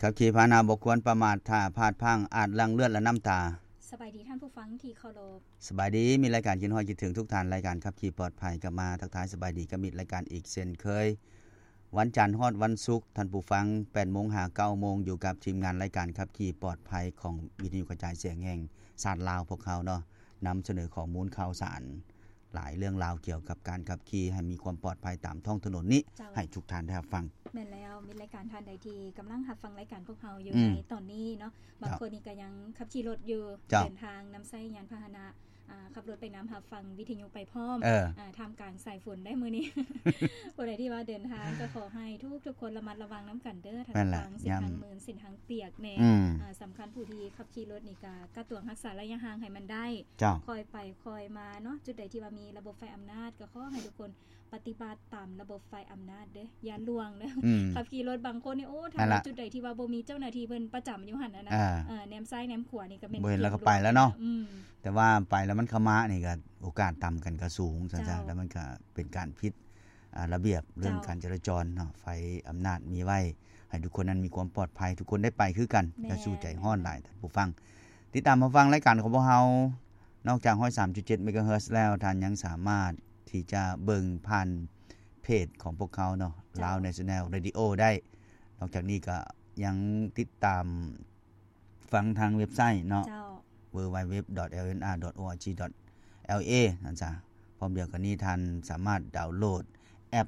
ຂັບຂີ່ພາຫະນະບໍ່ຄວນປະໝາດ ຖ້າພາດພລັ້ງອາດຫຼັ່ງເລືອດ ແລະ ນ້ຳຕາ. ສະບາຍດີທ່ານຜູ້ຟັງທີ່ເຄົາລົບ. ສະບາຍດີ ມິດລາຍການຄິດຮອດຄິດເຖິງທຸກທ່ານ, ລາຍການຂັບຂີ່ປອດໄພ ກັບມາທັກທາຍສະບາຍດີກັບມິດລາຍການອີກເຊັ່ນເຄີຍ. ວັນຈັນຮອດວັນສຸກ ທ່ານຜູ້ຟັງ ແປດໂມງຫາເກົ້າໂມງ ຢູ່ກັບທີມງານລາຍການຂັບຂີ່ປອດໄພ ຂອງວິທະຍຸກະຈາຍສຽງແຫ່ງຊາດລາວ ພວກເຮົາເນາະ ນຳສະເໜີຂໍ້ມູນຂ່າວສານ ຫຼາຍເລື່ອງລາວກ່ຽວກັບການຂັບຂີ່ໃຫ້ມີຄວາມປອດໄພຕາມທ້ອງຖະໜົນນີ້ ເຈົ້າ ໃຫ້ທຸກທ່ານໄດ້ຮັບຟັງ. ແມ່ນແລ້ວ ມິດລາຍການທ່ານໃດທີ່ກຳລັງຮັບຟັງລາຍການພວກເຮົາຢູ່ ອືມ ໃນຕອນນີ້ເນາະ, ບາງ ເຈົ້າ ຄົນນີ້ກໍຍັງຂັບຂີ່ລົດຢູ່ ເຈົ້າ ເດີນທາງນຳໃຊ້ຍານພາຫະນະ ອາ ຂັບລົດໄປນຳ ຮັບຟັງວິທະຍຸໄປພ້ອມ ເອີ ອາ ທ່າມກາງສາຍຝົນໄດ້ມື້ນີ້. ຜູ້ໃດທີ່ວ່າເດີນທາງກໍຂໍໃຫ້ທຸກໆຄົນລະມັດລະວັງນຳກັນເດີ ທາງ ແມ່ນແຫຼະ ທາງເສັ້ນທາງ ຍາມ ມື່ນ ເສັ້ນທາງປຽກແດ່ ອືມ ອາ ສຳຄັນຜູ້ທີ່ຂັບຂີ່ລົດນີ້ກໍກະຕວງຮັກສາໄລຍະຫ່າງໃຫ້ມັນໄດ້ ເຈົ້າ ຄ່ອຍໄປຄ່ອຍມາເນາະ. ຈຸດໃດທີ່ວ່າມີລະບົບໄຟອຳນາດ ກໍຂໍໃຫ້ທຸກຄົນປະຕິບັດຕາມລະບົບໄຟອຳນາດເດີ ຢ່າລ່ວງເດີ ອືມ ຂັບຂີ່ລົດບາງຄົນນີ້ ໂອ້ ຖ້າ ນັ້ນລະ ວ່າຈຸດໃດທີ່ວ່າບໍ່ມີເຈົ້າໜ້າທີ່ເພິ່ນປະຈຳຢູ່ຫັ້ນນະ ອາ ເອີ ແນມຊ້າຍແນມຂວານີ້ກໍແມ່ນ ບໍ່ເຫັນແລ້ວກໍໄປແລ້ວເນາະ ອືມ ແຕ່ວ່າໄປແລ້ວມັນເຂົ້າມານີ້ກໍໂອກາດຕຳກັນກໍສູງ ຊັ້ນຊະ ເຈົ້າ ແລ້ວມັນກໍເປັນການຜິດ ອາ ລະບຽບເລື່ອງ ເຈົ້າ ການຈະລາຈອນເນາະ. ໄຟອຳນາດມີໄວ້ ໃຫ້ທຸກຄົນນັ້ນມີຄວາມປອດໄພ ທຸກຄົນໄດ້ໄປຄືກັນ. ແມ່ນ ຢ່າສູ່ໃຈຮ້ອນຫຼາຍ ແມ່ນ ທ່ານຜູ້ຟັງ. ຕິດຕາມຮັບຟັງລາຍການຂອງພວກເຮົາ ນອກຈາກ ຮ້ອຍສາມຈຸດເຈັດ ເມກາເຮີດ ແລ້ວ ທ່ານຍັງສາມາດທີ່ຈະເບິ່ງຜ່ານເພຈຂອງພວກເຮົາເນາະ ເຈົ້າ Lao National Radio ໄດ້. ນອກຈາກນີ້ກໍຍັງຕິດຕາມ ຟັງທາງເວັບໄຊເນາະ ເຈົ້າ www.lnr.org.la ຫັ້ນຊະ. ພ້ອມດຽວກັນນີ້ທ່ານສາມາດດາວໂຫຼດແອັບ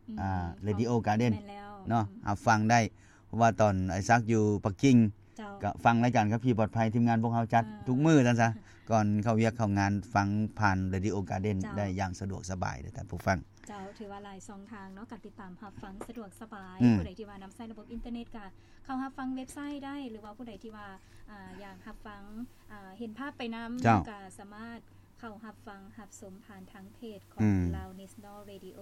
ອືມ ອາ Radio Garden ແມ່ນແລ້ວ ເນາະ ອືມ ຮັບຟັງໄດ້ ເພາະວ່າຕອນອ້າຍສັກຢູ່ປັກກິ່ງ ເຈົ້າ ກໍຟັງລາຍການຂັບຂີ່ປອດໄພ ທີມງານພວກເຮົາຈັດ ເອີ ທຸກມື້ຊັ້ນຊະ ກ່ອນເຂົ້າວຽກເຂົ້າງານ ຟັງຜ່ານ Radio Garden ເຈົ້າ ໄດ້ຢ່າງສະດວກສະບາຍເດີທ່ານຜູ້ຟັງ. ເຈົ້າ ຖືວ່າຫຼາຍຊ່ອງທາງເນາະ ການຕິດຕາມຮັບຟັງສະດວກສະບາຍ ອືມ ຜູ້ໃດທີ່ວ່ານຳໃຊ້ລະບົບອິນເຕີເນັດກໍ ເຂົ້າຮັບຟັງເວັບໄຊໄດ້ ຫຼືວ່າຜູ້ໃດທີ່ວ່າ ອາ ຢາກຮັບຟັງ ອາ ເຫັນພາບໄປນຳ ເຈົ້າ ກໍສາມາດເຂົ້າຮັບຟັງຮັບຊົມຜ່ານທາງເພຈຂອງ ອືມ Lao National Radio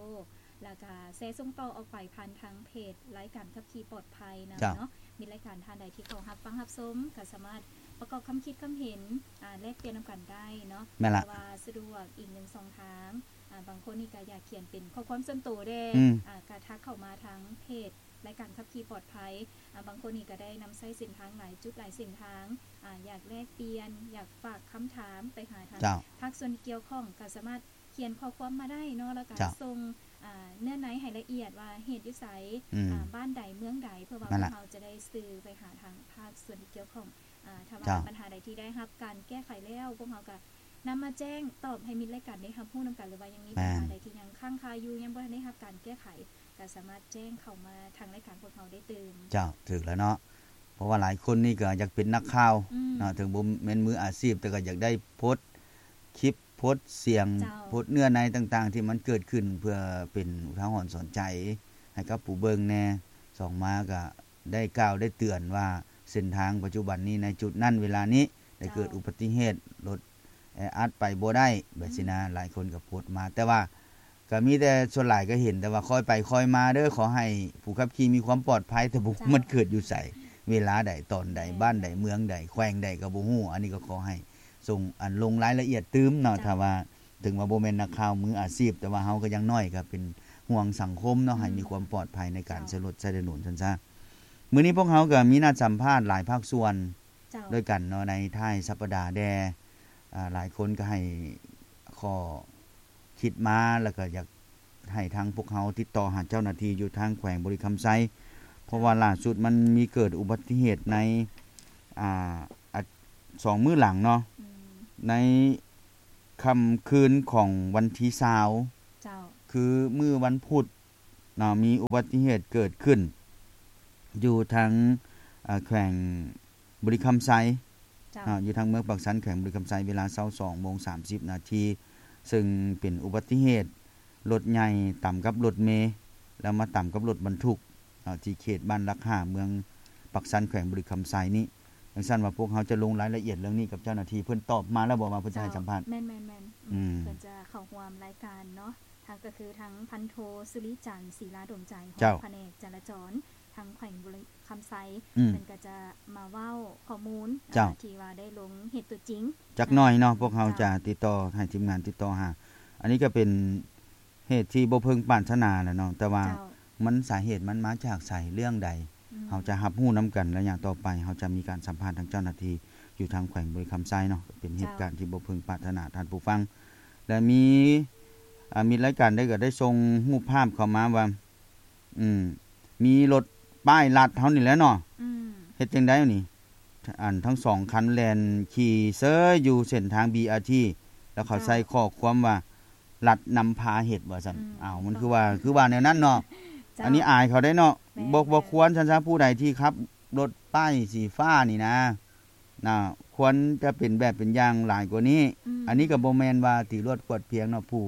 ແລ້ວກໍແຊສົ່ງຕໍ່ອອກໄປຜ່ານທາງເພຈລາຍການຂັບຂີ່ປອດໄພນຳ ເຈົ້າ ເນາະ. ມີລາຍການທ່ານໃດທີ່ເຂົ້າຮັບຟັງຮັບຊົມ ກໍສາມາດປະກອບຄຳຄິດຄຳເຫັນ ອາ ແລກປ່ຽນນຳກັນໄດ້ເນາະ ແມ່ນລະ ເພາະວ່າສະດວກອີກໜຶ່ງຊ່ອງທາງ. ອາ ບາງຄົນນີ້ກໍຢາກຂຽນເປັນຂໍ້ຄວາມສ່ວນໂຕແດ່ ອືມ ອາ ກໍທັກເຂົ້າມາທາງເພຈ ລາຍການຂັບຂີ່ປອດໄພ ອາ ບາງຄົນນີ້ກໍໄດ້ນຳໃຊ້ເສັ້ນທາງຫຼາຍຈຸດຫຼາຍເສັ້ນທາງ ອາ ຢາກແລກປ່ຽນ ຢາກຝາກຄຳຖາມໄປຫາທາງ ເຈົ້າ ພາກສ່ວນທີ່ກ່ຽວຂ້ອງ ກໍສາມາດຂຽນຂໍ້ຄວາມມາໄດ້ເນາະ ແລ້ວກໍ ເຈົ້າ ສົ່ງ ອາ ເນື້ອໃນໃຫ້ລະອຽດວ່າເຮັດຢູ່ໃສ ອືມ ອາ ບ້ານໃດເມືອງໃດ ເພື່ອວ່າ ນັ້ນລະ ພວກເຮົາຈະໄດ້ສື່ໄປຫາທາງພາກສ່ວນທີ່ກ່ຽວຂ້ອງ. ອາ ຖ້າວ່າ ເຈົ້າ ບັນຫາໃດທີ່ໄດ້ຮັບການແກ້ໄຂແລ້ວ ພວກເຮົາກໍນຳມາແຈ້ງຕອບໃຫ້ມິດລາຍການໄດ້ຮັບຮູ້ນຳກັນ ຫຼືວ່າຍັງມີ ແມ່ນ ບັນຫາໃດທີ່ຍັງຄ້າງຄາຢູ່ ຍັງບໍ່ທັນໄດ້ຮັບການແກ້ໄຂ ກໍສາມາດແຈ້ງເຂົ້າມາທາງລາຍການພວກເຮົາໄດ້ຕື່ມ. ເຈົ້າ ຖືກແລ້ວເນາະ ເພາະວ່າຫຼາຍຄົນນີ້ກໍຢາກເປັນນັກຂ່າວ ອືມ ເນາະ ເຖິງບໍ່ແມ່ນມືອາຊີບ ແຕ່ກໍຢາກໄດ້ໂພສຄລິບ ໂພສສຽງ ເຈົ້າ ໂພສເນື້ອໃນຕ່າງໆ ທີ່ມັນເກີດຂຶ້ນ ເພື່ອເປັນອຸທາຫອນສອນໃຈໃຫ້ກັບຜູ້ເບິ່ງແດ່. ສອງມາກໍ ໄດ້ກ່າວໄດ້ເຕືອນວ່າ ເສັ້ນທາງປັດຈຸບັນນີ້ ໃນຈຸດນັ້ນເວລານີ້ ໄດ້ເກີດ ເຈົ້າ ອຸບັດຕິເຫດ ລົດແອອັດໄປບໍ່ໄດ້ ແບບຊີ້ນະ ອືມ ຫຼາຍຄົນກໍໂພສມາ ແຕ່ວ່າກໍມີແຕ່ ສ່ວນຫຼາຍກໍເຫັນແຕ່ວ່າຄ່ອຍໄປຄ່ອຍມາເດີ ຂໍໃຫ້ຜູ້ຂັບຂີ່ມີຄວາມປອດໄພ ແຕ່ບໍ່ ເຈົ້າ ມັນເກີດຢູ່ໃສ ເວລາໃດ ຕອນໃດ ແມ່ນ ບ້ານໃດ ເມືອງໃດ ແຂວງໃດກໍບໍ່ຮູ້. ອັນນີ້ກໍຂໍໃຫ້ສົ່ງ ອັນ ລົງລາຍລະອຽດຕື່ມເນາະ ເຈົ້າ ຖ້າວ່າ ເຖິງວ່າບໍ່ແມ່ນນັກຂ່າວມືອາຊີບ ແຕ່ວ່າເຮົາກໍຢ່າງໜ້ອຍກໍເປັນຫ່ວງສັງຄົມເນາະ ອືມ ໃຫ້ມີຄວາມປອດໄພໃນການ ເຈົ້າ ໃຊ້ລົດໃຊ້ຖະໜົນຊັ້ນຊະ. ມື້ນີ້ພວກເຮົາກໍມີນັດສຳພາດຫຼາຍພາກສ່ວນ ເຈົ້າ ດ້ວຍກັນເນາະ ໃນທ້າຍສັບປະດາແດ່. ອາ ຫຼາຍຄົນກໍໃຫ້ຂໍ້ຄິດມາ ແລ້ວກໍຢາກໃຫ້ທາງພວກເຮົາຕິດຕໍ່ຫາເຈົ້າໜ້າທີ່ຢູ່ທາງແຂວງບໍລິຄຳໄຊ ເພາະວ່າ ເຈົ້າ ລ່າສຸດມັນມີເກີດອຸບັດຕິເຫດໃນ ອາ ອາ ສອງມື້ຫຼັງເນາະ ອືມ ໃນ ຄ່ຳຄືນຂອງວັນທີຊາວ ເຈົ້າ ຄືມື້ວັນພຸດເນາະ ມີອຸບັດຕິເຫດເກີດຂຶ້ນຢູ່ທາງ ເອີ ແຂວງບໍລິຄຳໄຊ ເຈົ້າ ເນາະ ຢູ່ທາງເມືອງປາກຊັນ ແຂວງບໍລິຄຳໄຊ ເວລາຊາວສອງໂມງສາມສິບນາທີ ເຊິ່ງເປັນອຸບັດຕິເຫດລົດໃຫຍ່ຕຳກັບລົດເມ ແລ້ວມາຕຳກັບລົດບັນທຸກ ເນາະ ທີ່ເຂດບ້ານຫຼັກຫ້າ ເມືອງປາກຊັນ ແຂວງບໍລິຄຳໄຊນີ້. ຈັ່ງຊັ້ນວ່າພວກເຮົາຈະລົງລາຍລະອຽດເລື່ອງນີ້ກັບເຈົ້າໜ້າທີ່ ເພິ່ນຕອບມາແລ້ວບໍ່ວ່າເພິ່ນຈະໃຫ້ສຳພາດ? ເຈົ້າ ແມ່ນໆໆ ອືມ ເພິ່ນຈະເຂົ້າຮ່ວມລາຍການເນາະ ທາງ ກໍຄືທາງພັນໂທ ສຸລິຈັນ ສີລາດົມໃຈ ຮອງ ເຈົ້າ ພະແນກຈະລາຈອນທາງແຂວງບໍລິຄຳໄຊ ອືມ ເພິ່ນກໍຈະມາເວົ້າຂໍ້ມູນ ເຈົ້າ ອາ ທີ່ວ່າໄດ້ລົງເຫດຕົວຈິງ ຈັກໜ້ອຍເນາະ ເຈົ້າ ພວກເຮົາຈະຕິດຕໍ່ ໃຫ້ທີມງານຕິດຕໍ່ຫາ. ອັນນີ້ກໍເປັນ ເຫດທີ່ບໍ່ເພິ່ງປານຖະໜາແຫຼະເນາະ ແຕ່ວ່າ ເຈົ້າ ມັນ ສາເຫດມັນມາຈາກໃສ ເລື່ອງໃດ ອືມ ເຮົາຈະຮັບຮູ້ນຳກັນ ໄລຍະຕໍ່ໄປ ເຮົາຈະມີການສຳພາດທາງເຈົ້າໜ້າທີ່ຢູ່ທາງແຂວງບໍລິຄຳໄຊເນາະ ເປັນເຫດການທີ່ບໍ່ເພິ່ງປາດຖະໜາທ່ານຜູ້ຟັງ ແລະ ມີ ອາ ມິດລາຍການໄດ້ກໍໄດ້ສົ່ງຮູບພາບເຂົ້າມາວ່າ ອືມ ມີລົດປ້າຍລັດເຮົານີ້ແຫຼະເນາະ ເຮັດຈັ່ງໃດນີ້ ອັນທັງສອງຄັນແລ່ນຂີ່ເຊີຍຢູ່ເສັ້ນທາງ ບີອາທີ ແລ້ວເຂົາໃສ່ຂໍ້ຄວາມວ່າ ລັດນຳພາເຮັດວ່າຊັ້ນ ເອົ້າ ມັນຄືວ່າ ຄືວ່າແນວນັ້ນເນາະ ອັນນີ້ອາຍເຂົາໄດ໋ເນາະ ບໍ່ ບໍ່ຄວນຊັ້ນຊະ ຜູ້ໃດທີ່ຂັບລົດປ້າຍສີຟ້ານີ້ນະ ນະ ຄວນຈະເປັນແບບເປັນຢ່າງຫຼາຍກວ່ານີ້ ອັນນີ້ກໍບໍ່ແມ່ນວ່າຕີລວດກວດພຽງເນາະ ຜູ້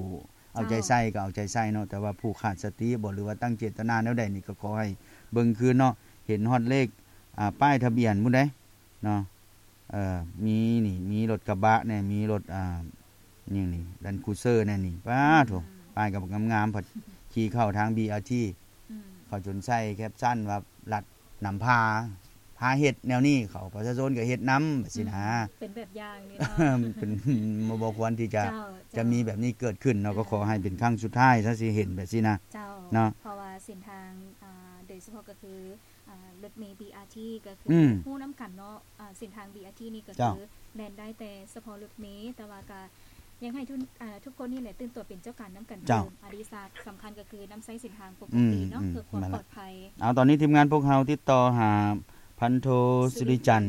ເອົາໃຈໃສ່ກໍເອົາໃຈໃສ່ເນາະ ແຕ່ວ່າຜູ້ຂາດສະຕິບໍ ຫຼືວ່າຕັ້ງເຈດຕະນາແນວໃດນີ້ກໍຂໍໃຫ້ເບິ່ງຄືນເນາະ ເຫັນຮອດເລກ ອາ ປ້າຍທະບຽນພຸ້ນເດ້ເນາະ ເອີ ມີນີ້ ມີລົດກະບະແດ່ ມີລົດ ອາ ຫຍັງນີ້ ແລນຄຣູເຊີແດ່ນີ້ ປາໂທ້ ປ້າຍກໍງາມໆ ພັດຂີ່ເຂົ້າທາງ ບີອາທີ ເຂົາຈົນໃສ່ແຄບຊັນວ່າ ລັດນຳພາ ພາເຮັດແນວນີ້ ເຂົາປະຊາຊົນກໍເຮັດນຳ ແບບຊີ້ນະ ເປັນແບບຢ່າງນີ້ເນາະ ເປັນ ບໍ່ ບໍ່ຄວນທີ່ຈະ ຈະມີແບບນີ້ເກີດຂຶ້ນເນາະ ກໍຂໍໃຫ້ເປັນຄັ້ງສຸດທ້າຍຊະ ຊິເຫັນແບບຊີ້ນະ ເຈົ້າ ເນາະ ເພາະວ່າເສັ້ນທາງ ອາ ໂດຍສະເພາະກໍຄື ອາ ລົດເມ ບີອາທີ ກໍຄືຮູ້ນຳກັນເນາະ ອາ ເສັ້ນທາງ ບີອາທີ ນີ້ກໍຄືແລ່ນໄດ້ແຕ່ສະເພາະລົດເມ ແຕ່ວ່າກໍ ຢາກໃຫ້ທຸກ ອາ ທຸກຄົນນີ້ແຫຼະຕື່ນຕົວເປັນເຈົ້າການນຳກັນຕື່ມ ອັນທີ່ສຳຄັນກໍຄືນຳໃຊ້ເສັ້ນທາງປົກກະຕິເນາະ ເພື່ອຄວາມປອດໄພ ເອົາ ຕອນນີ້ທີມງານພວກເຮົາຕິດຕໍ່ຫາພັນໂທ ສຸລິຈັນ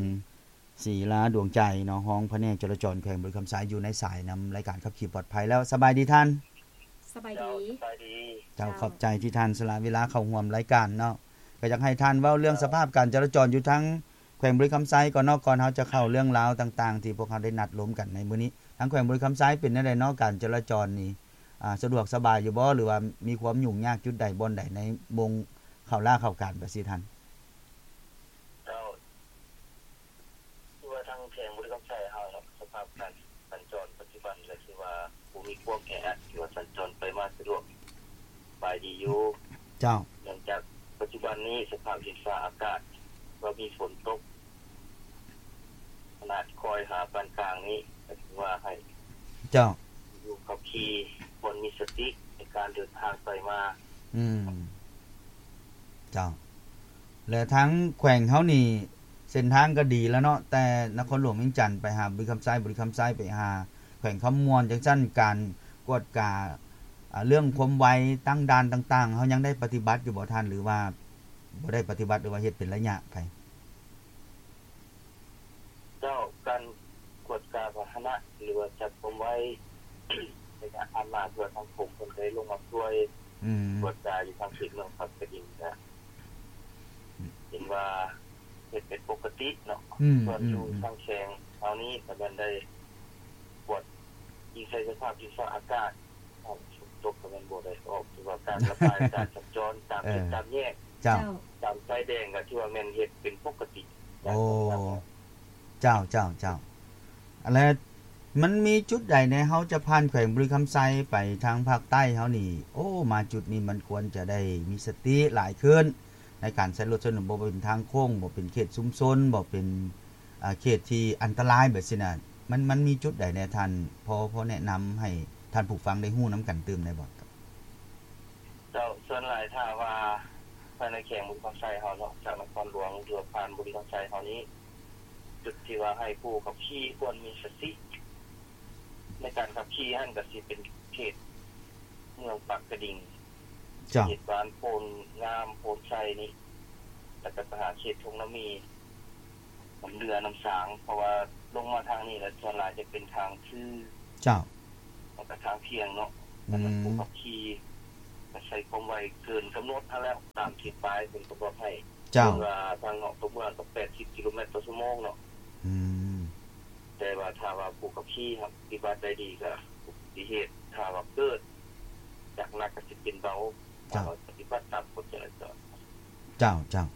ສີລາດວງໃຈເນາະ ຮອງພະແນກຈະລາຈອນແຂວງບໍລິຄຳໄຊ ຢູ່ໃນສາຍນຳລາຍການຂັບຂີ່ປອດໄພແລ້ວ ສະບາຍດີທ່ານ ສະບາຍດີ ເຈົ້າ ຂອບໃຈທີ່ທ່ານສະຫຼະເວລາເຂົ້າຮ່ວມລາຍການເນາະ ກໍຢາກໃຫ້ທ່ານເວົ້າເລື່ອງສະພາບການຈະລາຈອນຢູ່ທາງ ແຂວງບໍລິຄຳໄຊກ່ອນເນາະ ກ່ອນເຮົາຈະເຂົ້າເລື່ອງລາວຕ່າງໆ ທີ່ພວກເຮົາໄດ້ນັດລົມກັນໃນມື້ນີ້ ທາງແຂວງບໍລິຄຳໄຊເປັນແນວໃດເນາະ ການຈະລາຈອນນີ້ ອາ ສະດວກສະບາຍຢູ່ບໍ່ ຫຼືວ່າມີຄວາມຫຍຸ້ງຍາກຈຸດໃດບ່ອນໃດໃນໂມງເຂົ້າລາເຂົ້າການ ປະຊິທ່ານ? ເຈົ້າ ຄືວ່າທາງແຂວງບໍລິຄຳໄຊເຮົາເນາະ ສະພາບການສັນຈອນປັດຈຸບັນກໍຄືວ່າບໍ່ມີຄວາມແອອັດ ຖືວ່າສັນຈອນໄປມາສະດວກສະບາຍດີຢູ່ ເຈົ້າ ເນື່ອງຈາກປັດຈຸບັນນີ້ສະພາບດິນຟ້າອາກາດ ວ່າມີຝົນຕົກ ຂະໜາດຄ່ອຍຫາປານກາງນີ້ ກໍຖືວ່າໃຫ້ ເຈົ້າ ຜູ້ຂັບຂີ່ຄວນມີສະຕິໃນການເດີນທາງໄປມາ ອືມ ເຈົ້າ ແລະ ທາງແຂວງເຮົານີ້ ເສັ້ນທາງກໍດີແລ້ວເນາະ ແຕ່ນະຄອນຫຼວງວຽງຈັນໄປຫາບໍລິຄຳໄຊ ບໍລິຄຳໄຊໄປຫາແຂວງຄຳມ່ວນ ຈັ່ງຊັ້ນ ການກວດກາ ອາ ເລື່ອງຄວາມໄວ ຕັ້ງດ່ານຕ່າງໆ ເຮົາຍັງໄດ້ປະຕິບັດຢູ່ບໍ່ທ່ານ ຫຼືວ່າບໍ່ໄດ້ປະຕິບັດ ຫຼືວ່າເຮັດເປັນໄລຍະໄປ? ເຈົ້າ ການກວດກາພາຫະນະ ຫຼືວ່າຈັບຄວາມໄວ ໄລຍະຜ່ານມາ ເພື່ອທາງກົມເພິ່ນໄດ້ລົງມາຊ່ວຍ ອືມ ກວດກາຢູ່ທາງເຂດເມືອງປາກກະດິງ ກະເຫັນວ່າເຮັດເປັນປົກກະຕິເນາະ ອືມ ສ່ວນຢູ່ ອືມ ທາງແຂວງເຮົານີ້ ກະແມ່ນໄດ້ກວດອີງໃສ່ສະພາບດິນຟ້າອາກາດ ຝົນຕົກກໍແມ່ນບໍ່ໄດ້ອອກ ຖືວ່າການລະບາຍ ການສັນຈອນຕາມເຂດ ເອີ ຕາມແຍກ ເຈົ້າ ເຈົ້າ ຕາມໄຟແດງກໍຖືວ່າແມ່ນເຮັດເປັນປົກກະຕິ ໂອ້ ເຈົ້າ ເຈົ້າ ເຈົ້າ ແລະ ມັນມີຈຸດໃດແດ່ ເຮົາຈະຜ່ານແຂວງບໍລິຄຳໄຊໄປທາງພາກໃຕ້ເຮົານີ້ ໂອ້ ມາຈຸດນີ້ມັນຄວນຈະໄດ້ມີສະຕິຫຼາຍຂຶ້ນ ໃນການໃຊ້ລົດໃຊ້ໜູນ ບໍ່ເປັນທາງໂຄ້ງ ບໍ່ເປັນເຂດຊຸມຊົນ ບໍ່ເປັນ ອາ ເຂດທີ່ອັນຕະລາຍແບບຊີ້ນະ ມັນ ມັນມີຈຸດໃດແດ່ທ່ານ ພໍ ພໍແນະນຳໃຫ້ທ່ານຜູ້ຟັງໄດ້ຮູ້ນຳກັນຕື່ມໄດ້ບໍ່? ເຈົ້າ ສ່ວນຫຼາຍຖ້າວ່າພາຍໃນແຂວງບໍລິຄຳໄຊເຮົາເນາະ ຈາກນະຄອນຫຼວງ ຫຼືວ່າຜ່ານບໍລິຄຳໄຊເຮົານີ້ ຈຸດທີ່ວ່າໃຫ້ຜູ້ຂັບຂີ່ຄວນມີສະຕິໃນການຂັບຂີ່ຫັ້ນ ກໍຊິເປັນເຂດເມືອງປາກກະດິງ ເຈົ້າ ເຂດບ້ານໂພນງາມ ໂພນໄຊນີ້ ແລ້ວກໍໄປຫາເຂດທົ່ງນ້ຳມີ ນ້ຳເຫຼືອ ນ້ຳສາງ ເພາະວ່າລົງມາທາງນີ້ແລ້ວ ສ່ວນຫຼາຍຈະເປັນທາງຊື່ ເຈົ້າ ແລ້ວກໍທາງພຽງເນາະ ອືມ ສຳລັບຜູ້ຂັບຂີ່ ກໍໃຊ້ຄວາມໄວເກີນກຳນົດຫັ້ນແຫຼະ ຕາມທີ່ປ້າຍເພິ່ນກຳນົດໃຫ້ ເຈົ້າ ເພິ່ນວ່າທາງນອກຕົວເມືອງກໍແປດສິບກິໂລແມັດຕໍ່ຊົ່ວໂມງເນາະ ອືມ ແຕ່ວ່າຖ້າວ່າຜູ້ຂັບຂີ່ປະຕິບັດໄດ້ດີ ກໍອຸບັດຕິເຫດ ຖ້າວ່າເກີດ ຈາກໜັກກໍຊິເປັນເບົາ ເຈົ້າ ຖ້າວ່າປະຕິບັດຕາມກົດຈະລາຈອນ. ເຈົ້າ ເຈົ້າ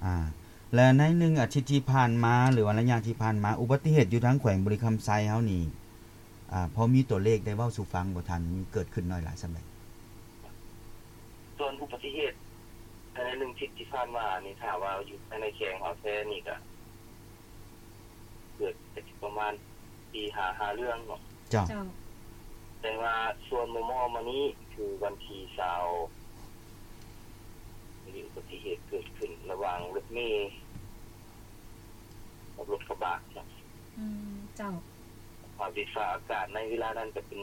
ອາ ແລະ ໃນໜຶ່ງອາທິດທີ່ຜ່ານມາ ຫຼືວ່າໄລຍະທີ່ຜ່ານມາ ອຸບັດຕິເຫດຢູ່ທາງແຂວງບໍລິຄຳໄຊເຮົານີ້ ອາ ພໍມີຕົວເລກໄດ້ເວົ້າສູ່ຟັງບໍ່ທ່ານ? ມີເກີດຂຶ້ນໜ້ອຍຫຼາຍສ່ຳໃດ? ສ່ວນອຸບັດຕິເຫດພາຍໃນໜຶ່ງທິດທີ່ຜ່ານມານີ້ ຖ້າວ່າຢູ່ພາຍໃນແຂວງເຮົາແທ້ນີ້ກະ ເກີດກະຊິປະມານສີ່ຫາຫ້າເລື່ອງເນາະ. ເຈົ້າ. ເຈົ້າ. ແຕ່ວ່າສ່ວນມໍ່ໆມານີ້ ຄືວັນທີຊາວ ມີອຸບັດຕິເຫດເກີດຂຶ້ນລະຫວ່າງລົ ມີກັບລົດກະບະເນາະ. ອືມ ເຈົ້າ. ສະພາບດິນຟ້າອາກາດໃນເວລານັ້ນກໍເປັນ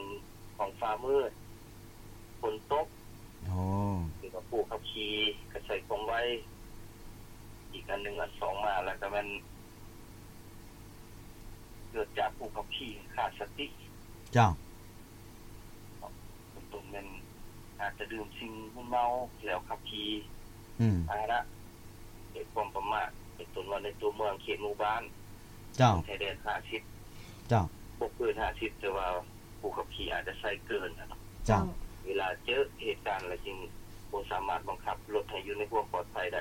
ທ້ອງຟ້າມືດ ຝົນຕົກ. ໂອ້ ຄືວ່າຜູ້ຂັບຂີ່ກໍໃຊ້ຄວາມໄວ. ອີກອັນໜຶ່ງ ອັນສອງມາແລ້ວກໍແມ່ນເກີດຈາກຜູ້ຂັບຂີ່ຂາດສະຕິ. ເຈົ້າ. ເປັນຕົ້ນແມ່ນອາດຈະດື່ມສິ່ງມຶນເມົາແລ້ວຂັບຂີ່ ອືມ ພາຫະນະ ດ້ວຍຄວາມປະໝາດ ເປັນຕົ້ນວ່າໃນຕົວເມືອງເຂດໝູ່ບ້ານ. ເຈົ້າ. ຊາຍແດນຫ້າສິບ. ເຈົ້າ. ບໍ່ເກີນຫ້າສິບ ແຕ່ວ່າຜູ້ຂັບຂີ່ອາດຈະໃຊ້ເກີນນະ. ເຈົ້າ. ເວລາເຈີເຫດການແລ້ວຈຶ່ງບໍ່ສາມາດບັງຄັບລົດໃຫ້ຢູ່ໃນຄວາມປອດໄພໄດ້.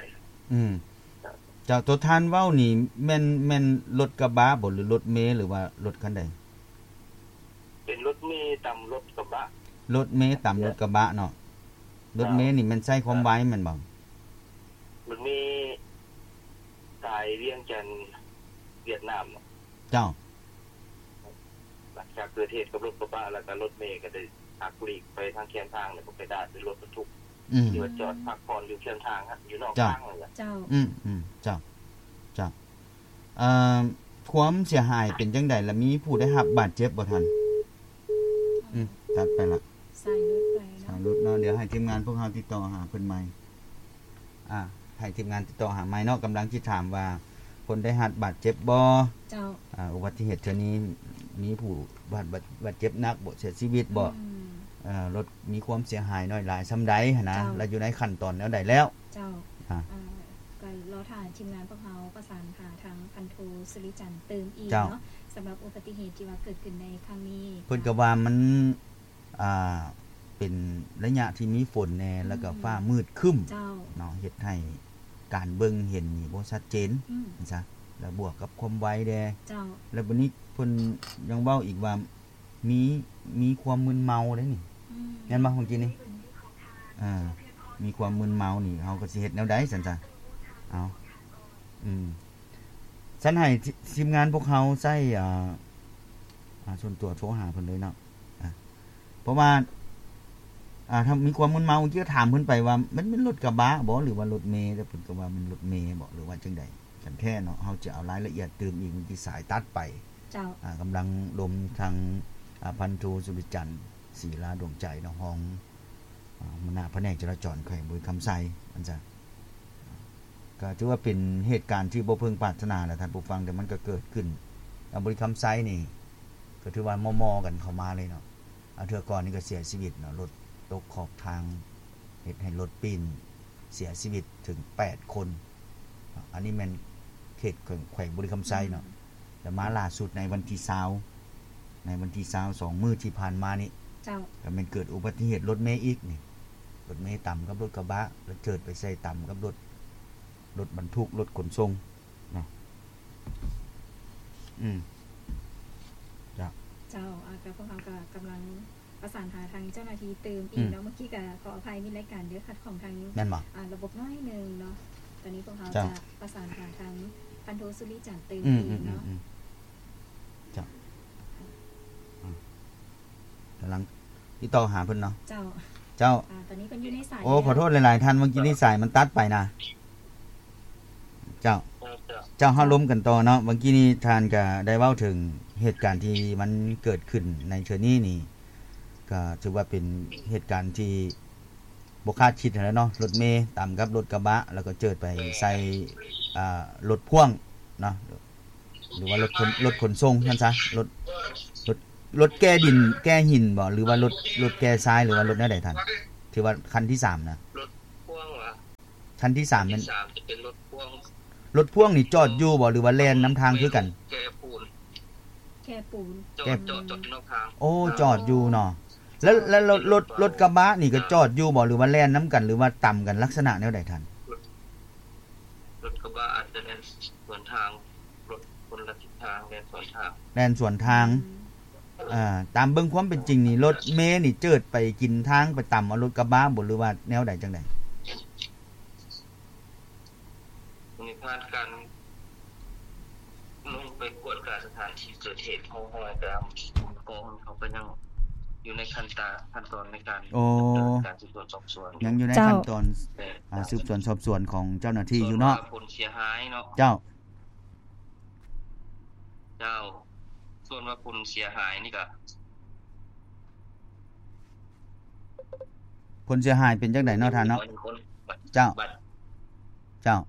ອືມ. ເຈົ້າ. ເຈົ້າ ໂຕທ່ານເວົ້ານີ້ແມ່ນ ແມ່ນລົດກະບະບໍ່ ຫຼືລົດເມ ຫຼືວ່າລົດຄັນໃດ? ເປັນລົດເມຕຳລົດກະບະ. ລົດເມຕຳລົດກະບະເນາະ. ເຈົ້າ. ລົດເມນີ້ແມ່ນໃຊ້ຄວາມໄວແມ່ນບໍ່? ລົດເມສາຍວຽງຈັນຫວຽດນາມ. ເຈົ້າ. ຫຼັງຈາກເກີດເຫດກັບລົດກະບະແລ້ວ ກໍລົດເມກໍໄດ້ຫັກຫຼີກໄປທາງແຄມທາງ ແລ້ວກໍໄປດາດດ້ວຍລົດບັນທຸກ ອືມ ທີ່ວ່າຈອດພັກຜ່ອນຢູ່ແຄມທາງ ຢູ່ນອກທາງນັ້ນແຫຼະ. ເຈົ້າ. ອືມໆ ເຈົ້າ ເຈົ້າ. ເອີ ຄວາມເສຍຫາຍເປັນຈັ່ງໃດ ແລະ ມີຜູ້ໄດ້ຮັບບາດເຈັບບໍ່ທ່ານ? ອືມ ຕັດໄປລະ ສາຍຫຼຸດໄປເນາະ. ສາຍຫຼຸດເນາະ. ດຽວໃຫ້ທີມງານພວກເຮົາຕິດຕໍ່ຫາເພິ່ນໃໝ່. ອ່າ ໃຫ້ທີມງານຕິດຕໍ່ຫາໃໝ່ເນາະ. ກຳລັງຊິຖາມວ່າ ຄົນໄດ້ຮັບບາດເຈັບບໍ່? ເຈົ້າ. ອ່າ ອຸບັດຕິເຫດເທື່ອນີ້ມີຜູ້ບາດ ບາດ ບາດເຈັບໜັກບໍ່? ເສຍຊີວິດບໍ່? ອືມ. ເອີ ລົດມີຄວາມເສຍຫາຍໜ້ອຍຫຼາຍສ່ຳໃດຫັ້ນນະ? ເຈົ້າ. ແລະ ຢູ່ໃນຂັ້ນຕອນແນວໃດແລ້ວ? ເຈົ້າ. ອ່າ ອ່າ ກໍລໍຖ້າທີມງານພວກເຮົາປະສານຫາທາງພັນໂທ ສຸລິຈັນ ຕື່ມອີກເນາະ. ເຈົ້າ. ສຳລັບອຸບັດຕິເຫດທີ່ວ່າເກີດຂຶ້ນໃນຄັ້ງນີ້ ເພິ່ນກໍວ່າມັນ ອ່າ ເປັນໄລຍະທີ່ມີຝົນແດ່ ອືມ ແລ້ວກໍຟ້າມືດຄຶ້ມ ເຈົ້າ ເນາະ ເຮັດໃຫ້ການເບິ່ງເຫັນນີ້ບໍ່ຊັດເຈນ ອືມ ຊັ້ນຊະ ແລ້ວບວກກັບຄວາມໄວແດ່ ເຈົ້າ ແລ້ວບັດນີ້ເພິ່ນຍັງເວົ້າອີກວ່າ ມີ ມີຄວາມມຶນເມົາເດ້ນີ້ ອືມ ແມ່ນບໍ່ ເມື່ອກີ້ນີ້? ເອີ ມີຄວາມມຶນເມົານີ້ ເຮົາກໍຊິເຮັດແນວໃດຊັ້ນຊະ? ເອົາ ອືມ ຊັ້ນໃຫ້ທີມງານພວກເຮົາໃຊ້ ອ່າ ອ່າ ສ່ວນຕົວໂທຫາເພິ່ນເລີຍເນາະ ອ່າ ເພາະວ່າ ອ່າ ຖ້າມີຄວາມມຶນເມົາ ເມື່ອກີ້ກໍຖາມເພິ່ນໄປວ່າ ມັນແມ່ນລົດກະບະບໍ່ ຫຼືວ່າລົດເມ ແຕ່ເພິ່ນກໍວ່າແມ່ນລົດເມບໍ່ ຫຼືວ່າຈັ່ງໃດກັນແທ້ເນາະ ເຮົາຈະເອົາລາຍລະອຽດຕື່ມອີກ ເມື່ອກີ້ສາຍຕັດໄປ ເຈົ້າ ອ່າ ກຳລັງລົມທາງ ອ່າ ພັນໂທ ສຸລິຈັນ ສີລາດວງໃຈເນາະ ຮອງ ອ່າ ຫົວໜ້າພະແນກຈະລາຈອນແຂວງບໍລິຄຳໄຊ ວ່າຊັ້ນຊະ ກໍຖືວ່າເປັນເຫດການທີ່ບໍ່ເພິ່ງປາດຖະໜາແຫຼະທ່ານຜູ້ຟັງ ແຕ່ມັນກໍເກີດຂຶ້ນ ແລ້ວບໍລິຄຳໄຊນີ້ກໍຖືວ່າມໍ່ໆກັນເຂົ້າມາເລີຍເນາະ ອາ ເທື່ອກ່ອນນີ້ກໍເສຍຊີວິດເນາະ ລົດຕົກຂອບທາງ ເຮັດໃຫ້ລົດປີ້ນເສຍຊີວິດເຖິງແປດຄົນ ອັນນີ້ແມ່ນເຂດແຂວງ ແຂວງບໍລິຄຳໄຊເນາະ ອືມ ແລ້ວມາລ່າສຸດໃນວັນທີຊາວ ໃນວັນທີຊາວ ສອງມື້ທີ່ຜ່ານມານີ້ ເຈົ້າ ກໍແມ່ນເກີດອຸບັດຕິເຫດລົດເມອີກນີ້ ລົດເມຕຳກັບລົດກະບະ ແລ້ວເຈີດໄປໃສ່ຕຳກັບລົດ ລົດບັນທຸກ ລົດຂົນສົ່ງເນາະ ອືມ ເຈົ້າ ເຈົ້າ ອາ ກໍພວກເຮົາກໍກຳລັງ ປະສານຫາທາງເຈົ້າໜ້າທີ່ຕື່ມອີກເນາະ ອືມ ເມື່ອກີ້ກໍຂໍອະໄພມິດລາຍການເດີ ຂັດຂ້ອງທາງ ແມ່ນບໍ່? ອ່າ ລະບົບໜ້ອຍໜຶ່ງເນາະ ຕອນນີ້ພວກເຮົາ ເຈົ້າ ຈະປະສານຫາທາງພັນໂທ ສຸລິຈັນ ຕື່ມ ອືມ ອີກເນາະ ອືມ ເຈົ້າ ອືມ ກຳລັງຕິດຕໍ່ຫາເພິ່ນເນາະ ເຈົ້າ ເຈົ້າ ອ່າ ຕອນນີ້ເພິ່ນຢູ່ໃນສາຍ ໂອ້ ແລ້ວ ຂໍໂທດຫຼາຍໆທ່ານ ເມື່ອກີ້ນີ້ສາຍມັນຕັດໄປນະ ເຈົ້າ ເຈົ້າ ເຈົ້າ ເຮົາລົມກັນຕໍ່ເນາະ ເມື່ອກີ້ນີ້ທ່ານກໍໄດ້ເວົ້າເຖິງເຫດການທີ່ມັນເກີດຂຶ້ນໃນເທື່ອນີ້ນີ້ ກໍຖືວ່າເປັນເຫດການທີ່ບໍ່ຄາດຄິດຫັ້ນແຫຼະເນາະ ລົດເມຕຳກັບລົດກະບະ ແລ້ວກໍເຈີດໄປໃສ່ ອ່າ ລົດພ່ວງເນາະ ຫຼືວ່າລົດຂົນ ລົດຂົນສົ່ງຊັ້ນຊະ ລົດ ລົດ ລົດແກ່ດິນ ແກ່ຫີນບໍ ຫຼືວ່າລົດ ລົດແກ່ຊາຍ ຫຼືວ່າລົດແນວໃດທ່ານ ທີ່ວ່າຄັນທີສາມນະ ລົດພ່ວງຫວາ? ຄັນທີສາມແມ່ນ ຄັນທີສາມຈະເປັນລົດພ່ວງ ລົດພ່ວງນີ້ຈອດຢູ່ບໍ່ ຫຼືວ່າແລ່ນນຳທາງຄືກັນ? ແກ່ປູນ ແກ່ປູນ ຈອດ ແກ່ ຈອດ ຈອດນອກທາງ ໂອ້ ຈອດຢູ່ເນາະ ແລ້ວ ແລ້ວລົດ ລົດ ລົດກະບະນີ້ກໍຈອດຢູ່ບໍ່ ຫຼືວ່າແລ່ນນຳກັນ ຫຼືວ່າຕຳກັນ ລັກສະນະແນວໃດທ່ານ? ລົດ ລົດກະບະອາດຈະແລ່ນສວນທາງ ລົດຄົນລະທິດທາງ ແລ່ນສວນທາງ ແລ່ນສວນທາງ ອືມ ເອີ ຕາມເບິ່ງຄວາມເປັນຈິງນີ້ ລົດເມນີ້ເຈີດໄປກິນທາງ ໄປຕຳເອົາລົດກະບະບໍ ຫຼືວ່າແນວໃດຈັ່ງໃດ? ໃນພານການລົງໄປກວດກາສະຖານທີ່ເກີດເຫດ ເຮົາ ເຮົາກໍ ກອງເຮົາກໍຍັງ ຢູ່ໃນຂັ້ນຕາ ຂັ້ນຕອນໃນການ ໂອ້ ດຳເນີນການສືບສວນສອບສວນ ຍັງຢູ່ໃນ ເຈົ້າ ຂັ້ນຕອນ ແມ່ນ ອ່າ ສືບສວນສອບສວນຂອງເຈົ້າໜ້າທີ່ຢູ່ເນາະ ສ່ວນວ່າຜົນເສຍຫາຍເນາະ ເຈົ້າ ເຈົ້າ ສ່ວນວ່າຜົນເສຍຫາຍນີ້ກະ ຜົນເສຍຫາຍເປັນຈັ່ງໃດເນາະທ່ານເນາະ? ເຈົ້າ ເຈົ້າ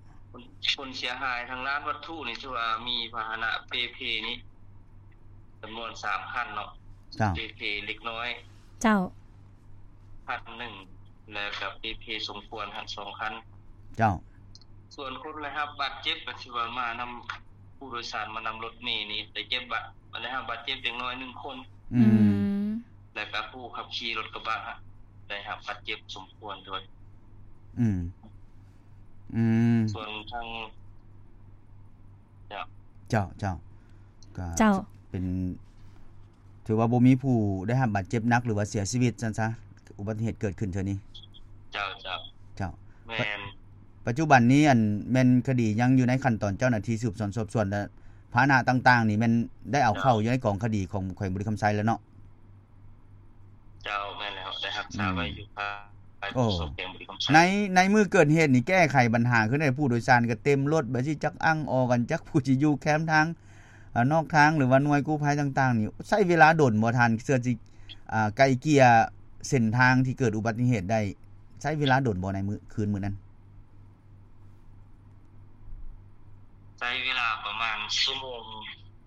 ຜົນເສຍຫາຍທາງດ້ານວັດຖຸນີ້ ຖືວ່າມີພາຫະນະເປ່ເພນີ້ຈຳນວນສາມຄັນເນາະ ເຈົ້າ ເປ່ເພເລັກນ້ອຍ ເຈົ້າ ຄັນໜຶ່ງ ແລະກະເປ່ເພສົມຄວນຫັ້ນສອງຄັນ ເຈົ້າ ສ່ວນຄົນໄດ້ຮັບບາດເຈັບກະຖືວ່າມານຳ ຜູ້ໂດຍສານມານຳລົດເມນີ້ໄດ້ເຈັບບາດ ໄດ້ຮັບບາດເຈັບເດັກນ້ອຍໜຶ່ງຄົນ ອືມ ອືມ ແລະກະຜູ້ຂັບຂີ່ລົດກະບະໄດ້ຮັບບາດເຈັບສົມຄວນດ້ວຍ ອືມ ອືມ ສ່ວນທາງ ເຈົ້າ ເຈົ້າ ເຈົ້າ ກະ ເຈົ້າ ເປັນ ຖືວ່າບໍ່ມີຜູ້ໄດ້ຮັບບາດເຈັບໜັກ ຫຼືວ່າເສຍຊີວິດຊັ້ນຊະ ອຸບັດຕິເຫດເກີດຂຶ້ນເທື່ອນີ້ ເຈົ້າ ເຈົ້າ ເຈົ້າ ແມ່ນ ປັດຈຸບັນນີ້ ອັນ ແມ່ນຄະດີຍັງຢູ່ໃນຂັ້ນຕອນເຈົ້າໜ້າທີ່ສືບສວນສອບສວນ ແລະ ພາຫະນະຕ່າງໆນີ້ແມ່ນໄດ້ເອົາເຂົ້າຢູ່ໃນກອງຄະດີຂອງແຂວງບໍລິຄຳໄຊແລ້ວເນາະ? ເຈົ້າ ແມ່ນແລ້ວ ໄດ້ຮັກສາໄວ້ຢູ່ພາຍ ໂອ້ ແຂວງບໍລິຄຳໄຊ ໃນ ໃນມື້ເກີດເຫດນີ້ແກ້ໄຂບັນຫາຄືໃດ? ຜູ້ໂດຍສານກະເຕັມລົດ ບາດຊິຈັກອັ່ງອອກກັນ ຈັກຜູ້ຊິຢູ່ແຄມທາງ ອາ ນອກທາງ ຫຼືວ່າໜ່ວຍກູ້ໄພຕ່າງໆນີ້ ໃຊ້ເວລາດົນບໍ່ທ່ານ ເພື່ອຊິ ອາ ໄກ່ເກ່ຍເສັ້ນທາງທີ່ເກີດອຸບັດຕິເຫດໄດ້ ໃຊ້ເວລາດົນບໍ່ໃນມື້ ຄືນມື້ນັ້ນ? ໃຊ້ເວລາປະມານຊົ່ວໂມງ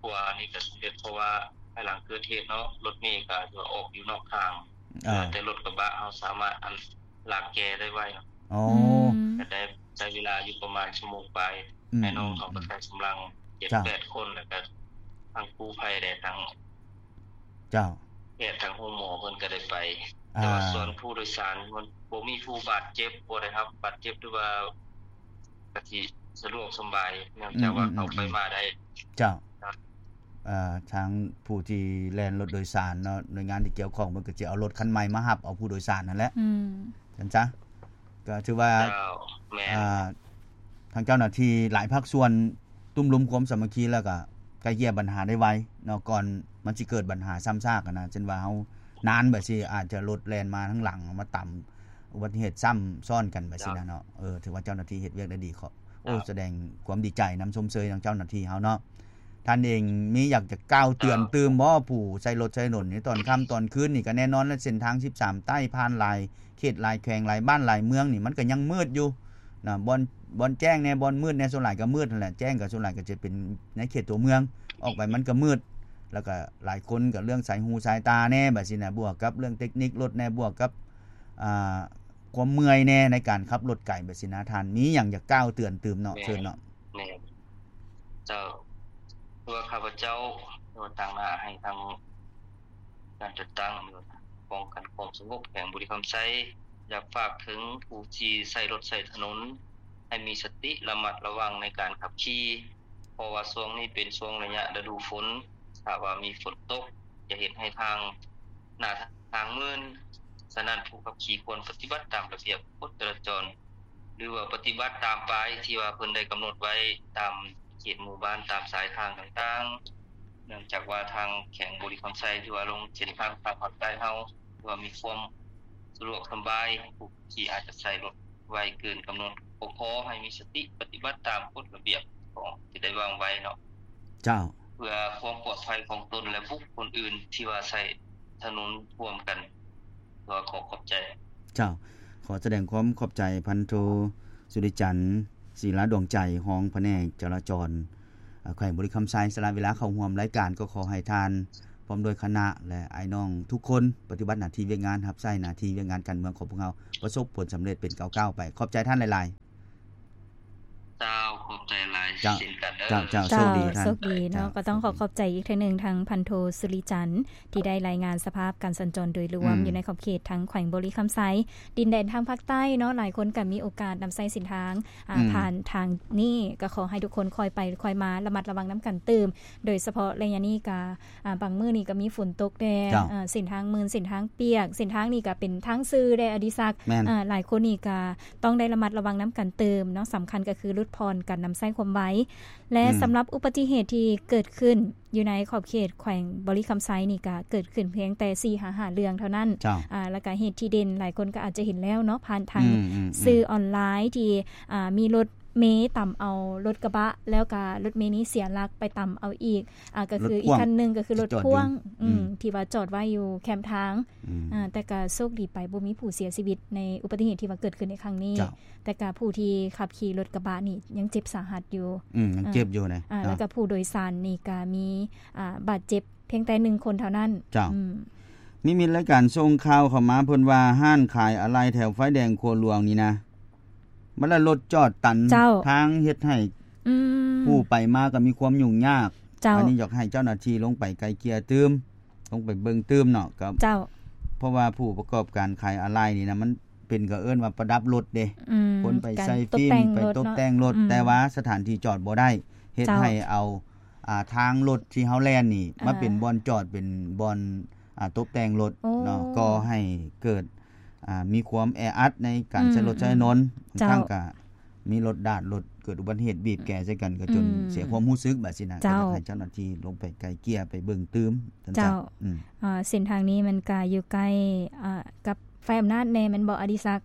ກວ່ານີ້ກະສຳເລັດ ເພາະວ່າພາຍຫຼັງເກີດເຫດເນາະ ລົດເມກະຖືວ່າອອກຢູ່ນອກທາງ ເອີ ແຕ່ລົດກະບະເຮົາສາມາດ ອັນ ລາກແກ່ໄດ້ໄວເນາະ ອໍ ອືມ ກະໄດ້ໃຊ້ເວລາຢູ່ປະມານຊົ່ວໂມງປາຍ ອືມ ອ້າຍນ້ອງເຮົາກະໃຊ້ກຳລັງເຈັດແປດຄົນ ແລ້ວກະທັງກູ້ໄພແດ່ ທັງ ເຈົ້າ ແພດ ທັງໂຮງໝໍເພິ່ນກະໄດ້ໄປ ອ່າ ແຕ່ວ່າສ່ວນຜູ້ໂດຍສານມັນບໍ່ມີຜູ້ບາດເຈັບ ບໍ່ໄດ້ຮັບບາດເຈັບ ຫຼືວ່າກະຊິສະດວກສະບາຍ ເນື່ອງຈາກວ່າ ອືມ ເຂົ້າໄປມາໄດ້ ເຈົ້າ ເຈົ້າ ອ່າ ທາງຜູ້ທີ່ແລ່ນລົດໂດຍສານເນາະ ໜ່ວຍງານທີ່ກ່ຽວຂ້ອງເພິ່ນກະຊິເອົາລົດຄັນໃໝ່ມາຮັບເອົາຜູ້ໂດຍສານຫັ້ນແຫຼະ ອືມ ຊັ້ນຊະ ກະຖືວ່າ ເຈົ້າ ແມ່ນ ອ່າ ທາງເຈົ້າໜ້າທີ່ຫຼາຍພາກສ່ວນ ຕຸ້ມລຸມຄວາມສາມັກຄີ ແລ້ວກະໄກ່ເກ່ຍບັນຫາໄດ້ໄວເນາະ ກ່ອນມັນຊິເກີດບັນຫາຊ້ຳຊາກຫັ້ນນະ ເຊັ່ນວ່າເຮົານານແບບຊີ້ ອາດຈະລົດແລ່ນມາທາງຫຼັງ ມາຕຳອຸບັດຕິເຫດຊ້ຳຊ້ອນກັນແບບຊີ້ນະເນາະ ເອີ ຖືວ່າເຈົ້າໜ້າທີ່ເຮັດວຽກໄດ້ດີ ຂໍ ໂອ້ ສະແດງຄວາມດີໃຈນຳ ຊົມເຊີຍທາງເຈົ້າໜ້າທີ່ເຮົາເນາະ ທ່ານເອງມີຢາກຈະກ່າວເຕືອນຕື່ມບໍ່ ຜູ້ໃຊ້ລົດໃຊ້ຖະໜົນໃນຕອນຄ່ຳຕອນຄືນນີ້ ກະແນ່ນອນແຫຼະ ເສັ້ນທາງສິບສາມໃຕ້ ຜ່ານຫຼາຍເຂດ ຫຼາຍແຂວງ ຫຼາຍບ້ານ ຫຼາຍເມືອງນີ້ ມັນກະຍັງມືດຢູ່ນະ ບ່ອນ ບ່ອນແຈ້ງແດ່ ບ່ອນມືດແດ່ ສ່ວນຫຼາຍກະມືດຫັ້ນແຫຼະ ແຈ້ງກະສ່ວນຫຼາຍກະຈະເປັນໃນເຂດຕົວເມືອງ ອອກໄປມັນກະມືດ ແລ້ວກະຫຼາຍຄົນກະເລື່ອງສາຍຫູສາຍຕາແດ່ ແບບຊີ້ນະ ບວກກັບເລື່ອງເຕັກນິກລົດແດ່ ບວກກັບ ອ່າ ຄວາມເມື່ອຍແດ່ໃນການຂັບລົດໄກແບບຊີ້ນະ ທ່ານມີຫຍັງຢາກກ່າວເຕືອນຕື່ມເນາະ ເຊີນເນາະ ແມ່ນ ເຈົ້າ ເພື່ອຂ້າພະເຈົ້າ ໂດຍຕາງໜ້າໃຫ້ທາງການຈັດຕັ້ງປ້ອງກັນຄວາມສະຫງົບແຂວງບໍລິຄຳໄຊ ຢາກຝາກເຖິງຜູ້ທີ່ໃຊ້ລົດໃຊ້ຖະໜົນ ໃຫ້ມີສະຕິລະມັດລະວັງໃນການຂັບຂີ່ ເພາະວ່າຊ່ວງນີ້ເປັນຊ່ວງໄລຍະລະດູຝົນ ຖ້າວ່າມີຝົນຕົກ ຈະເຮັດໃຫ້ທາງ ໜ້າທາງມື່ນ. ສະນັ້ນ ຜູ້ຂັບຂີ່ຄວນປະຕິບັດຕາມລະບຽບກົດຈະລາຈອນ ຫຼືວ່າປະຕິບັດຕາມປ້າຍທີ່ວ່າເພິ່ນໄດ້ກຳນົດໄວ້ຕາມເຂດໝູ່ບ້ານ ຕາມສາຍທາງຕ່າງໆ. ເນື່ອງຈາກວ່າທາງແຂວງບໍລິຄຳໄຊ ຖືວ່າລົງເສັ້ນທາງພາກພາກໃຕ້ເຮົາ ຖືວ່າມີຄວາມສະດວກສະບາຍ, ຜູ້ຂີ່ອາດຈະໃຊ້ລົດໄວເກີນກຳນົດ. ກໍຂໍໃຫ້ມີສະຕິປະຕິບັດຕາມກົດລະບຽບຂອງທີ່ໄດ້ວາງໄວ້ເນາະ. ເຈົ້າ. ເພື່ອຄວາມປອດໄພຂອງຕົນ ແລະ ບຸກຄົນອື່ນທີ່ວ່າໃຊ້ຖະໜົນຮ່ວມກັນ. ຂໍຂອບໃຈ. ເຈົ້າ. ຂໍສະແດງຄວາມຂອບໃຈ ພັນໂທ ສຸລິຈັນ ສີລາດວງໃຈ ຮອງພະແນກຈະລາຈອນ ແຂວງບໍລິຄຳໄຊ ສະຫຼະເວລາເຂົ້າຮ່ວມລາຍການ. ກໍຂໍໃຫ້ທ່ານ ພ້ອມດ້ວຍຄະນະ ແລະ ອ້າຍນ້ອງທຸກຄົນ ປະຕິບັດໜ້າທີ່ວຽກງານ ຮັບໃຊ້ໜ້າທີ່ວຽກງານການເມືອງຂອງພວກເຮົາ ປະສົບຜົນສຳເລັດເປັນກ້າວໆໄປ. ຂອບໃຈທ່ານຫຼາຍໆ. ເຈົ້າ ຂອບໃຈຫຼາຍເຊັ່ນກັນເດີ. ເຈົ້າ ເຈົ້າ ໂຊກດີທ່ານ. ໂຊກດີເນາະ. ເຈົ້າ ກໍຕ້ອງຂໍຂອບໃຈອີກເທື່ອໜຶ່ງ ທາງພັນໂທ ສຸລິຈັນ ທີ່ໄດ້ລາຍງານສະພາບການສັນຈອນໂດຍລວມ ອືມ ຢູ່ໃນຂອບເຂດທາງແຂວງບໍລິຄຳໄຊ ດິນແດນທາງພາກໃຕ້ເນາະ. ຫຼາຍຄົນກໍມີໂອກາດນຳໃຊ້ເສັ້ນທາງ ອ່າ ອືມ ຜ່ານທາງນີ້ ກໍຂໍໃຫ້ທຸກຄົນຄ່ອຍໄປຄ່ອຍມາ ລະມັດລະວັງນຳກັນຕື່ມ. ໂດຍສະເພາະໄລຍະນີ້ກໍ ອ່າ ບາງມື້ນີ້ກໍມີຝົນຕົກແດ່ ເຈົ້າ ເອີ ເສັ້ນທາງມື່ນ ເສັ້ນທາງປຽກ ເສັ້ນທາງນີ້ກໍເປັນທາງຊື່ແດ່ ອະດິສັກ. ແມ່ນ. ເອີ ຫຼາຍຄົນນີ້ກໍຕ້ອງໄດ້ລະມັດລະວັງນຳກັນຕື່ມເນາະ. ສຳຄັນກໍຄືຫຼຸດຜ່ອນກັນ ນຳໃຊ້ຄວາມໄວ ແລະ ອືມ ສຳລັບອຸບັດຕິເຫດທີ່ເກີດຂຶ້ນຢູ່ໃນຂອບເຂດແຂວງບໍລິຄຳໄຊນີ້ ກະເກີດຂຶ້ນພຽງແຕ່ສີ່ຫາຫ້າເລື່ອງເທົ່ານັ້ນ. ເຈົ້າ. ອາ ແລ້ວກະເຫດທີ່ເດັ່ນ ຫຼາຍຄົນກໍອາດຈະເຫັນແລ້ວເນາະ ຜ່ານທາງ ອືມໆໆ ສື່ອອນລາຍ ທີ່ ອາ ມີລົດເມຕຳເອົາລົດກະບະ ແລ້ວກະລົດເມນີ້ເສຍຫຼັກໄປຕຳເອົາອີກ ອາ ກໍຄືອີກຄັນໜຶ່ງ ກໍຄືລົດພ່ວງ ອືມ ອືມ ທີ່ວ່າຈອດໄວ້ຢູ່ແຄມທາງ ອືມ ອາ ແຕ່ກະໂຊກດີໄປ ບໍ່ມີຜູ້ເສຍຊີວິດໃນອຸບັດຕິເຫດທີ່ວ່າເກີດຂຶ້ນໃນຄັ້ງນີ້. ເຈົ້າ. ແຕ່ກະຜູ້ທີ່ຂັບຂີ່ລົດກະບະນີ້ຍັງເຈັບສາຫັດຢູ່ ອືມ ຍັງເຈັບຢູ່ນະ ອາ ເນາະ ແລ້ວກະຜູ້ໂດຍສານນີ້ກະມີ ອາ ບາດເຈັບພຽງແຕ່ໜຶ່ງຄົນເທົ່ານັ້ນ. ເຈົ້າ. ອືມ ມີມິດລາຍການສົ່ງຂ່າວເຂົ້າມາ ເພິ່ນວ່າຮ້ານຂາຍອາໄຫຼ່ແຖວໄຟແດງຂົວຫຼວງນີ້ນະ ມັນລະລົດຈອດຕັນ ເຈົ້າ ທາງ ເຮັດໃຫ້ ອືມ ຜູ້ໄປມາກໍມີຄວາມຫຍຸ້ງຍາກ. ເຈົ້າ. ອັນນີ້ຢາກໃຫ້ເຈົ້າໜ້າທີ່ລົງໄປໄກ່ເກ່ຍຕື່ມ ລົງໄປເບິ່ງຕື່ມເນາະ ກໍ ເຈົ້າ ເພາະວ່າຜູ້ປະກອບການຂາຍອາໄຫຼ່ນີ້ນະ ມັນເປັນ ເຂົາເອີ້ນວ່າປະດັບລົດເດ້ ອືມ ຄົນໄປໃສ່ຟິມ ໄປຕົບແຕ່ງລົດເນາະ ໄປຕົບແຕ່ງລົດ ອືມ ແຕ່ວ່າສະຖານທີ່ຈອດບໍ່ໄດ້ ເຮັດ ເຈົ້າ ໃຫ້ເອົາ ອ່າ ທາງລົດທີ່ເຮົາແລ່ນນີ້ ອ່າ ມາເປັນບ່ອນຈອດ ເປັນບ່ອນ ອ່າ ຕົບແຕ່ງລົດ ໂອ້ ເນາະ ກໍໃຫ້ເກີດ ອ່າ ມີຄວາມແອອັດໃນການ ອືມ ໃຊ້ລົດໃຊ້ຖະໜົນ ອືມ ບາງຄັ້ງ ເຈົ້າ ກໍມີລົດດາດລົດ ເກີດອຸບັດຕິເຫດບີບແກໃສ່ກັນ ກໍຈົນ ອືມ ເສຍຄວາມຮູ້ສຶກ ແບບຊີ້ນະ. ເຈົ້າ. ກໍຢາກໃຫ້ເຈົ້າໜ້າທີ່ລົງໄປໄກ່ເກ່ຍ ໄປເບິ່ງຕື່ມ ເຈົ້າ ອືມ ອ່າ ເສັ້ນທາງນີ້ມັນກະຢູ່ໃກ້ ອ່າ ກັບໄຟອຳນາດແດ່ແມ່ນບໍ່ ອະດິສັກ?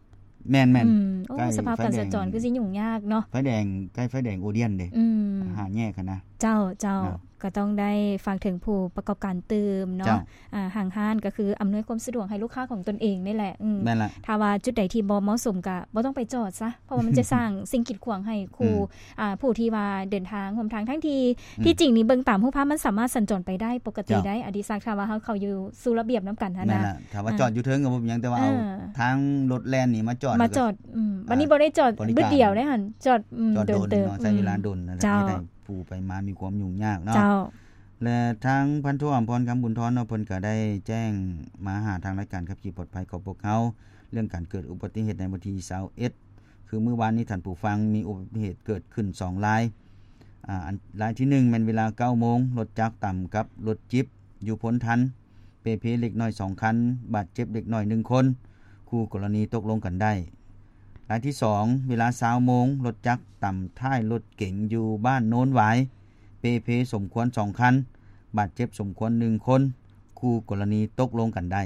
ແມ່ນໆ ອືມ ໂອ້ ໃກ້ ສະພາບການສັນຈອນ ໄຟແດງ ຄືຊິຫຍຸ້ງຍາກເນາະ ໄຟແດງ ໃກ້ໄຟແດງໂອດຽນເດ້ ອືມ ຫ້າແຍກຫັ້ນນະ. ເຈົ້າ ເຈົ້າ ເນາະ ກໍຕ້ອງໄດ້ຝາກເຖິງຜູ້ປະກອບການຕື່ມເນາະ ເຈົ້າ ອ່າ ຫ້າງຮ້ານກໍຄືອຳນວຍຄວາມສະດວກໃຫ້ລູກຄ້າຂອງຕົນເອງນີ້ແຫຼະ ອືມ ແມ່ນລະ ຖ້າວ່າຈຸດໃດທີ່ບໍ່ເໝາະສົມກໍບໍ່ຕ້ອງໄປຈອດຊະ ເພາະວ່າມັນຈະສ້າງສິ່ງກີດຂວາງໃຫ້ ອືມ ຄູ່ ອ່າ ຜູ້ທີ່ວ່າເດີນທາງຮ່ວມທາງ ທັງທີ່ ອືມ ທີ່ຈິງນີ້ເບິ່ງຕາມຮູບພາບມັນສາມາດສັນຈອນໄປໄດ້ປົກກະຕິໄດ້ ເຈົ້າ ອະດິສັກ ຖ້າວ່າເຮົາເຂົ້າຢູ່ສູ່ລະບຽບນຳກັນຫັ້ນນະ ແມ່ນລະ ຖ້າວ່າ ອ່າ ຈອດຢູ່ເທິງກໍບໍ່ເປັນຫຍັງ ແຕ່ວ່າເອົາ ອ່າ ທາງລົດແລ່ນນີ້ມາຈອດ ມາຈອດ ແລ້ວກໍ ອືມ ບັດນີ້ບໍ່ໄດ້ຈອດບຶດດຽວເດ້ຫັ້ນ ຈອດ ອືມ ເດີນເຕີບ ໃຊ້ເວລາດົນ ອືມ ນັ້ນແຫຼະ ເຈົ້າ ເຮັດໃຫ້ຜູ້ໄປມາມີຄວາມຫຍຸ້ງຍາກເນາະ ເຈົ້າ ແລະ ທາງພັນໂທ ອຳພອນ ຄຳບຸນທອນເນາະ ເພິ່ນກໍໄດ້ແຈ້ງມາຫາທາງລາຍການຂັບຂີ່ປອດໄພຂອງພວກເຮົາ ເລື່ອງການເກີດອຸບັດຕິເຫດໃນວັນທີຊາວເອັດ ຄືມື້ວານນີ້ ທ່ານຜູ້ຟັງ ມີອຸບັດຕິເຫດເກີດຂຶ້ນສອງລາຍ ອາ ອັນ ລາຍທີໜຶ່ງ ແມ່ນເວລາເກົ້າໂມງ ລົດຈັກຕຳກັບລົດຈິບຢູ່ໂພນທັນ ເປ່ເພເລັກນ້ອຍສອງຄັນ ບາດເຈັບເລັກນ້ອຍໜຶ່ງຄົນ ຄູ່ກໍລະນີຕົກລົງກັນໄດ້. ລາຍທີສອງ ເວລາຊາວໂມງ ລົດຈັກຕຳທ້າຍລົດເກັງຢູ່ບ້ານໂນນຫວາຍ ເປ່ເພສົມຄວນສອງຄັນ ບາດເຈັບສົມຄວນໜຶ່ງຄົນ ຄູ່ກໍລະນີຕົກລົງກັນໄດ້.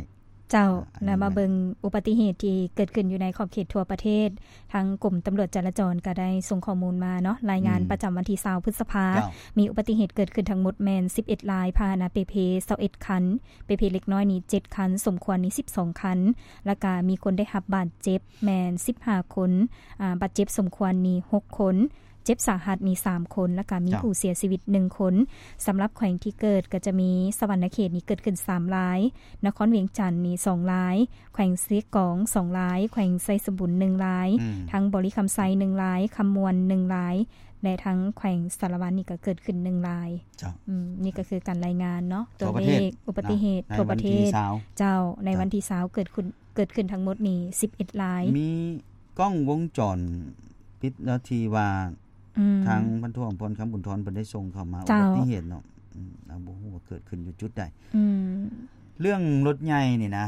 ເຈົ້າ ອາ ແລ້ວມາເບິ່ງອຸບັດຕິເຫດທີ່ເກີດຂຶ້ນຢູ່ໃນຂອບເຂດທົ່ວປະເທດ. ທາງກົມຕຳຫຼວດຈະລາຈອນກໍໄດ້ສົ່ງຂໍ້ມູນມາເນາະ ລາຍງານ ອືມ ປະຈຳວັນທີຊາວ ພຶດສະພາ ເຈົ້າ ມີອຸບັດຕິເຫດເກີດຂຶ້ນທັງໝົດແມ່ນສິບເອັດລາຍ, ພາຫະນະເປ່ເພຊາວເອັດຄັນ, ເປ່ເພເລັກນ້ອຍນີ້ເຈັດຄັນ, ສົມຄວນນີ້ສິບສອງຄັນ ແລ້ວກະມີຄົນໄດ້ຮັບບາດເຈັບແມ່ນສິບຫ້າຄົນ, ອາ ບາດເຈັບສົມຄວນນີ້ຫົກຄົນ. ເຈັບສາຫັດນີ້ສາມຄົນ ແລ້ວກະມີ ເຈົ້າ ຜູ້ເສຍຊີວິດໜຶ່ງຄົນ. ສຳລັບແຂວງທີ່ເກີດກໍຈະມີສະຫວັນນະເຂດນີ້ເກີດຂຶ້ນສາມລາຍ, ນະຄອນວຽງຈັນນີ້ສອງລາຍ, ແຂວງເຊກອງສອງລາຍ, ແຂວງໄຊສົມບູນໜຶ່ງລາຍ, ອືມ ທັງບໍລິຄຳໄຊໜຶ່ງລາຍ, ຄຳມ່ວນໜຶ່ງລາຍ ແລະ ທັງແຂວງສາລະວັນນີ້ກໍເກີດຂຶ້ນໜຶ່ງລາຍ. ເຈົ້າ ອືມ ນີ້ກໍຄືການລາຍງານເນາະ ຕົວເລກອຸບັດຕິເຫດທົ່ວປະເທດ. ເຈົ້າ ໃນວັນທີຊາວ ເຈົ້າ ເກີດຂຶ້ນ ເກີດຂຶ້ນທັງໝົດນີ້ສິບເອັດລາຍ. ມີກ້ອງວົງຈອນປິດແລ້ວທີ່ວ່າ ອືມ ທາງພັນໂທ ອຳພອນ ຄຳບຸນທອນ ເພິ່ນໄດ້ສົ່ງເຂົ້າມາ ເຈົ້າ ອຸບັດຕິເຫດເນາະ ອືມ ເຮົາບໍ່ຮູ້ວ່າເກີດຂຶ້ນຢູ່ຈຸດໃດ. ອືມ ເລື່ອງລົດໃຫຍ່ນີ້ນະ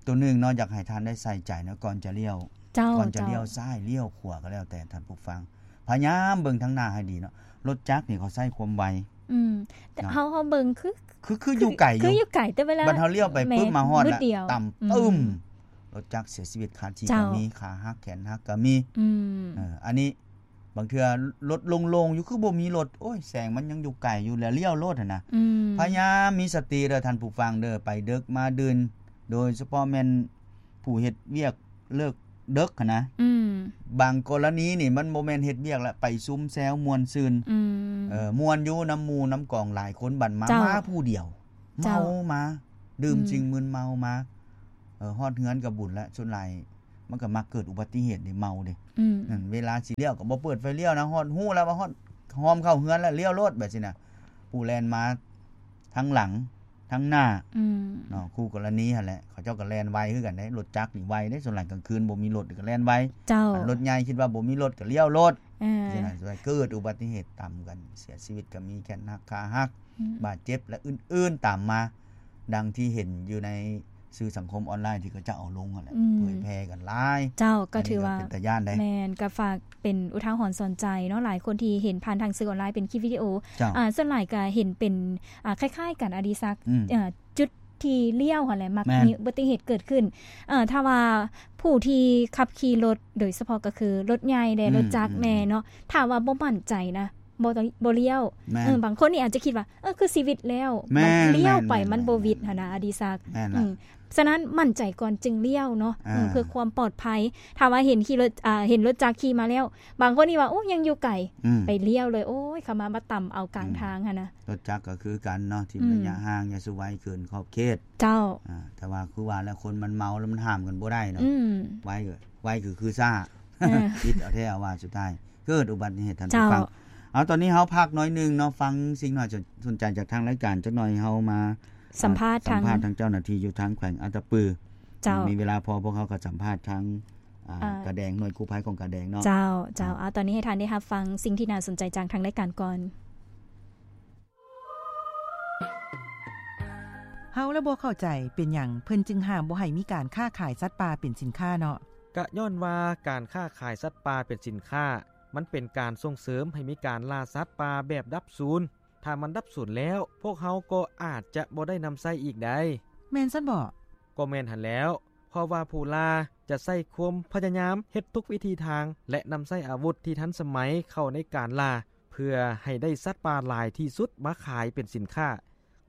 ຕົວໜຶ່ງເນາະ ຢາກໃຫ້ທ່ານໄດ້ໃສ່ໃຈເນາະ ກ່ອນຈະລ້ຽວ ເຈົ້າ ກ່ອນຈະລ້ຽວ ເຈົ້າ ຊ້າຍ ລ້ຽວຂວາກໍແລ້ວແຕ່ ທ່ານຜູ້ຟັງ ພະຍາຍາມເບິ່ງທາງໜ້າໃຫ້ດີເນາະ. ລົດຈັກນີ້ເຂົາໃຊ້ຄວາມໄວ ອືມ ແຕ່ເຮົາ ເຮົາເບິ່ງຄື ຄື ຄືຢູ່ໄກ ຄືຢູ່ໄກ ແຕ່ເວລາ ບັດເຮົາລ້ຽວໄປປຶບ ມາຮອດແລ້ວ ຕຳປຶ້ມ ອືມ ລົດຈັກເສຍຊີວິດຄາທີ່ ເຈົ້າ ກໍມີ ຂາຫັກແຂນຫັກກໍມີ ອືມ ເອີ ອັນນີ້ບາງເທື່ອລົດໂລ່ງໆຢູ່ ຄືບໍ່ມີລົດ ໂອ້ຍ ແສງມັນຍັງຢູ່ໄກຢູ່ ແລ້ວລ້ຽວໂລດຫັ້ນນະ ອືມ ພະຍາຍາມມີສະຕິເດີທ່ານຜູ້ຟັງເດີ ໄປເດິກມາດື່ນ ໂດຍສະເພາະແມ່ນ ຜູ້ເຮັດວຽກເລີກເດິກຫັ້ນນະ ອືມ ບາງກໍລະນີນີ້ມັນບໍ່ແມ່ນເຮັດວຽກລະ ໄປຊຸມແຊວມ່ວນຊື່ນ ອືມ ເອີ ມ່ວນຢູ່ນຳໝູ່ນຳກອງຫຼາຍຄົນ ບັດມາ ເຈົ້າ ມາຜູ້ດຽວ ເມົາ ເຈົ້າ ມາ ດື່ມ ອືມ ສິ່ງມຶນເມົາມາ ເອີ ຮອດເຮືອນກໍບຸນລະ ສ່ວນຫຼາຍມັນກໍມັກເກີດອຸບັດຕິເຫດເດ້ ເມົາເດ້ ອືມ ນັ້ນ ເວລາຊິລ້ຽວກໍບໍ່ເປີດໄຟລ້ຽວນະ ຮອດ ຮູ້ແລ້ວວ່າຮອດ ຮອມເຂົ້າເຮືອນແລ້ວ ລ້ຽວໂລດ ແບບຊີ້ນະ ຜູ້ແລ່ນມາທາງຫຼັງ ທາງໜ້າ ອືມ ເນາະ ຄູ່ກໍລະນີຫັ້ນແຫຼະ ເຂົາເຈົ້າກໍແລ່ນໄວຄືກັນເດ້ ລົດຈັກນີ້ໄວເດ້ ສ່ວນຫຼາຍກາງຄືນບໍ່ມີລົດກໍແລ່ນໄວ ເຈົ້າ ຄັນລົດໃຫຍ່ຄິດວ່າບໍ່ມີລົດກໍລ້ຽວໂລດ ເອີ ຈັ່ງຊີ້ນະ ເກີດອຸບັດຕິເຫດຕຳກັນ ເສຍຊີວິດກໍມີ ແຂນຫັກ ຂາຫັກ ອືມ ບາດເຈັບ ແລະ ອື່ນໆຕາມມາ ດັ່ງທີ່ເຫັນຢູ່ໃນ ສື່ສັງຄົມອອນລາຍທີ່ເຂົາເຈົ້າເອົາລົງຫັ້ນແຫຼະ ອືມ ເຜີຍແຜ່ກັນຫຼາຍ. ເຈົ້າ ກໍຖືວ່າເປັນຕາຢ້ານເດ້ ແມ່ນ ກໍຝາກເປັນອຸທາຫອນສອນໃຈເນາະ ຫຼາຍຄົນທີ່ເຫັນຜ່ານທາງສື່ອອນລາຍເປັນຄລິບວິດີໂອ. ເຈົ້າ ອ່າ ສ່ວນຫຼາຍກໍເຫັນເປັນ ອ່າ ຄ້າຍໆກັນ ອະດີສັກ ອືມ ເອີ ຈຸດທີ່ລ້ຽວຫັ້ນແຫຼະ ມັກມີອຸບັດຕິເຫດເກີດຂຶ້ນ. ເອີ ຖ້າວ່າຜູ້ທີ່ຂັບຂີ່ລົດ ໂດຍສະເພາະກໍຄືລົດໃຫຍ່ແດ່ ອືມ ລົດຈັກແດ່ເນາະ ອືມ ຖ້າວ່າບໍ່ໝັ້ນໃຈນະ ບໍ່ ບໍ່ລ້ຽວ. ແມ່ນ ເອີ ບາງຄົນນີ້ອາດຈະຄິດວ່າ ເອີ ຄືຊິຫວິດແລ້ວ ແມ່ນ ມັນລ້ຽວໄປ ແມ່ນ ມັນບໍ່ຫວິດຫັ້ນນະ ອະດີສັກ. ແມ່ນລະ ອືມ ສະນັ້ນໝັ້ນໃຈກ່ອນຈຶ່ງລ້ຽວເນາະ ອ່າ ເອີ ເພື່ອຄວາມປອດໄພ. ຖ້າວ່າເຫັນຂີ່ລົດ ອ່າ ເຫັນລົດຈັກຂີ່ມາແລ້ວ ບາງຄົນນີ້ວ່າ ໂອ້ ຍັງຢູ່ໄກ ອືມ ໄປລ້ຽວເລີຍ ໂອ້ຍ ເຂົາມາ ມາຕຳເອົາກາງທາງຫັ້ນນະ. ອືມ ລົດຈັກກໍຄືກັນເນາະ ຖິ້ມ ອືມ ໄລຍະຫ່າງ ຢ່າສູ່ໄວເກີນຂອບເຂດ. ເຈົ້າ ອ່າ ແຕ່ວ່າຄືວ່າແລ້ວ ຄົນມັນເມົາແລ້ວມັນຫ້າມກັນບໍ່ໄດ້ເນາະ. ອືມ ໄວກໍ ໄວກໍຄືຊ້າ ເອີ ຜິດເອົາແທ້ເອົາວ່າ ສຸດທ້າຍເກີດອຸບັດຕິເຫດ. ທ່ານຜູ້ຟັງ ເຈົ້າ ເອົາ ຕອນນີ້ເຮົາພັກໜ້ອຍໜຶ່ງເນາະ ຟັງສິ່ງໜ້າສົນໃຈຈາກທາງລາຍການຈັກໜ່ອຍ ເຮົາມາ ສຳພາດ ສຳພາດທາງເຈົ້າໜ້າທີ່ຢູ່ທາງແຂວງອັດຕະປື. ເຈົ້າ ມີເວລາພໍ ພວກເຮົາກໍສຳພາດທາງ ອ່າ ອ່າ ກາແດງ ໜ່ວຍກູ້ໄພຂອງກາແດງເນາະ. ເຈົ້າ ເຈົ້າ ອືມ ເອົາ ຕອນນີ້ໃຫ້ທ່ານໄດ້ຮັບຟັງສິ່ງທີ່ໜ້າສົນໃຈຈາກທາງລາຍການກ່ອນ. ເຮົາລະບໍ່ເຂົ້າໃຈ ເປັນຫຍັງເພິ່ນຈຶ່ງຫ້າມບໍ່ໃຫ້ມີການຄ້າຂາຍສັດປ່າເປັນສິນຄ້າເນາະ? ກະຍ້ອນວ່າການຄ້າຂາຍສັດປ່າເປັນສິນຄ້າ ມັນເປັນການສົ່ງເສີມໃຫ້ມີການລ່າສັດປ່າແບບດັບສູນ. ຖ້າມັນດັບສູນແລ້ວ ພວກເຮົາກໍອາດຈະບໍ່ໄດ້ນຳໃຊ້ອີກໄດ໋. ແມ່ນຊັ້ນບໍ? ກໍແມ່ນຫັ້ນແລ້ວ ເພາະວ່າຜູ້ລ່າຈະໃຊ້ຄວາມພະຍາຍາມເຮັດທຸກວິທີທາງ ແລະ ນຳໃຊ້ອາວຸດທີ່ທັນສະໄໝເຂົ້າໃນການລ່າ ເພື່ອໃຫ້ໄດ້ສັດປ່າຫຼາຍທີ່ສຸດມາຂາຍເປັນສິນຄ້າ.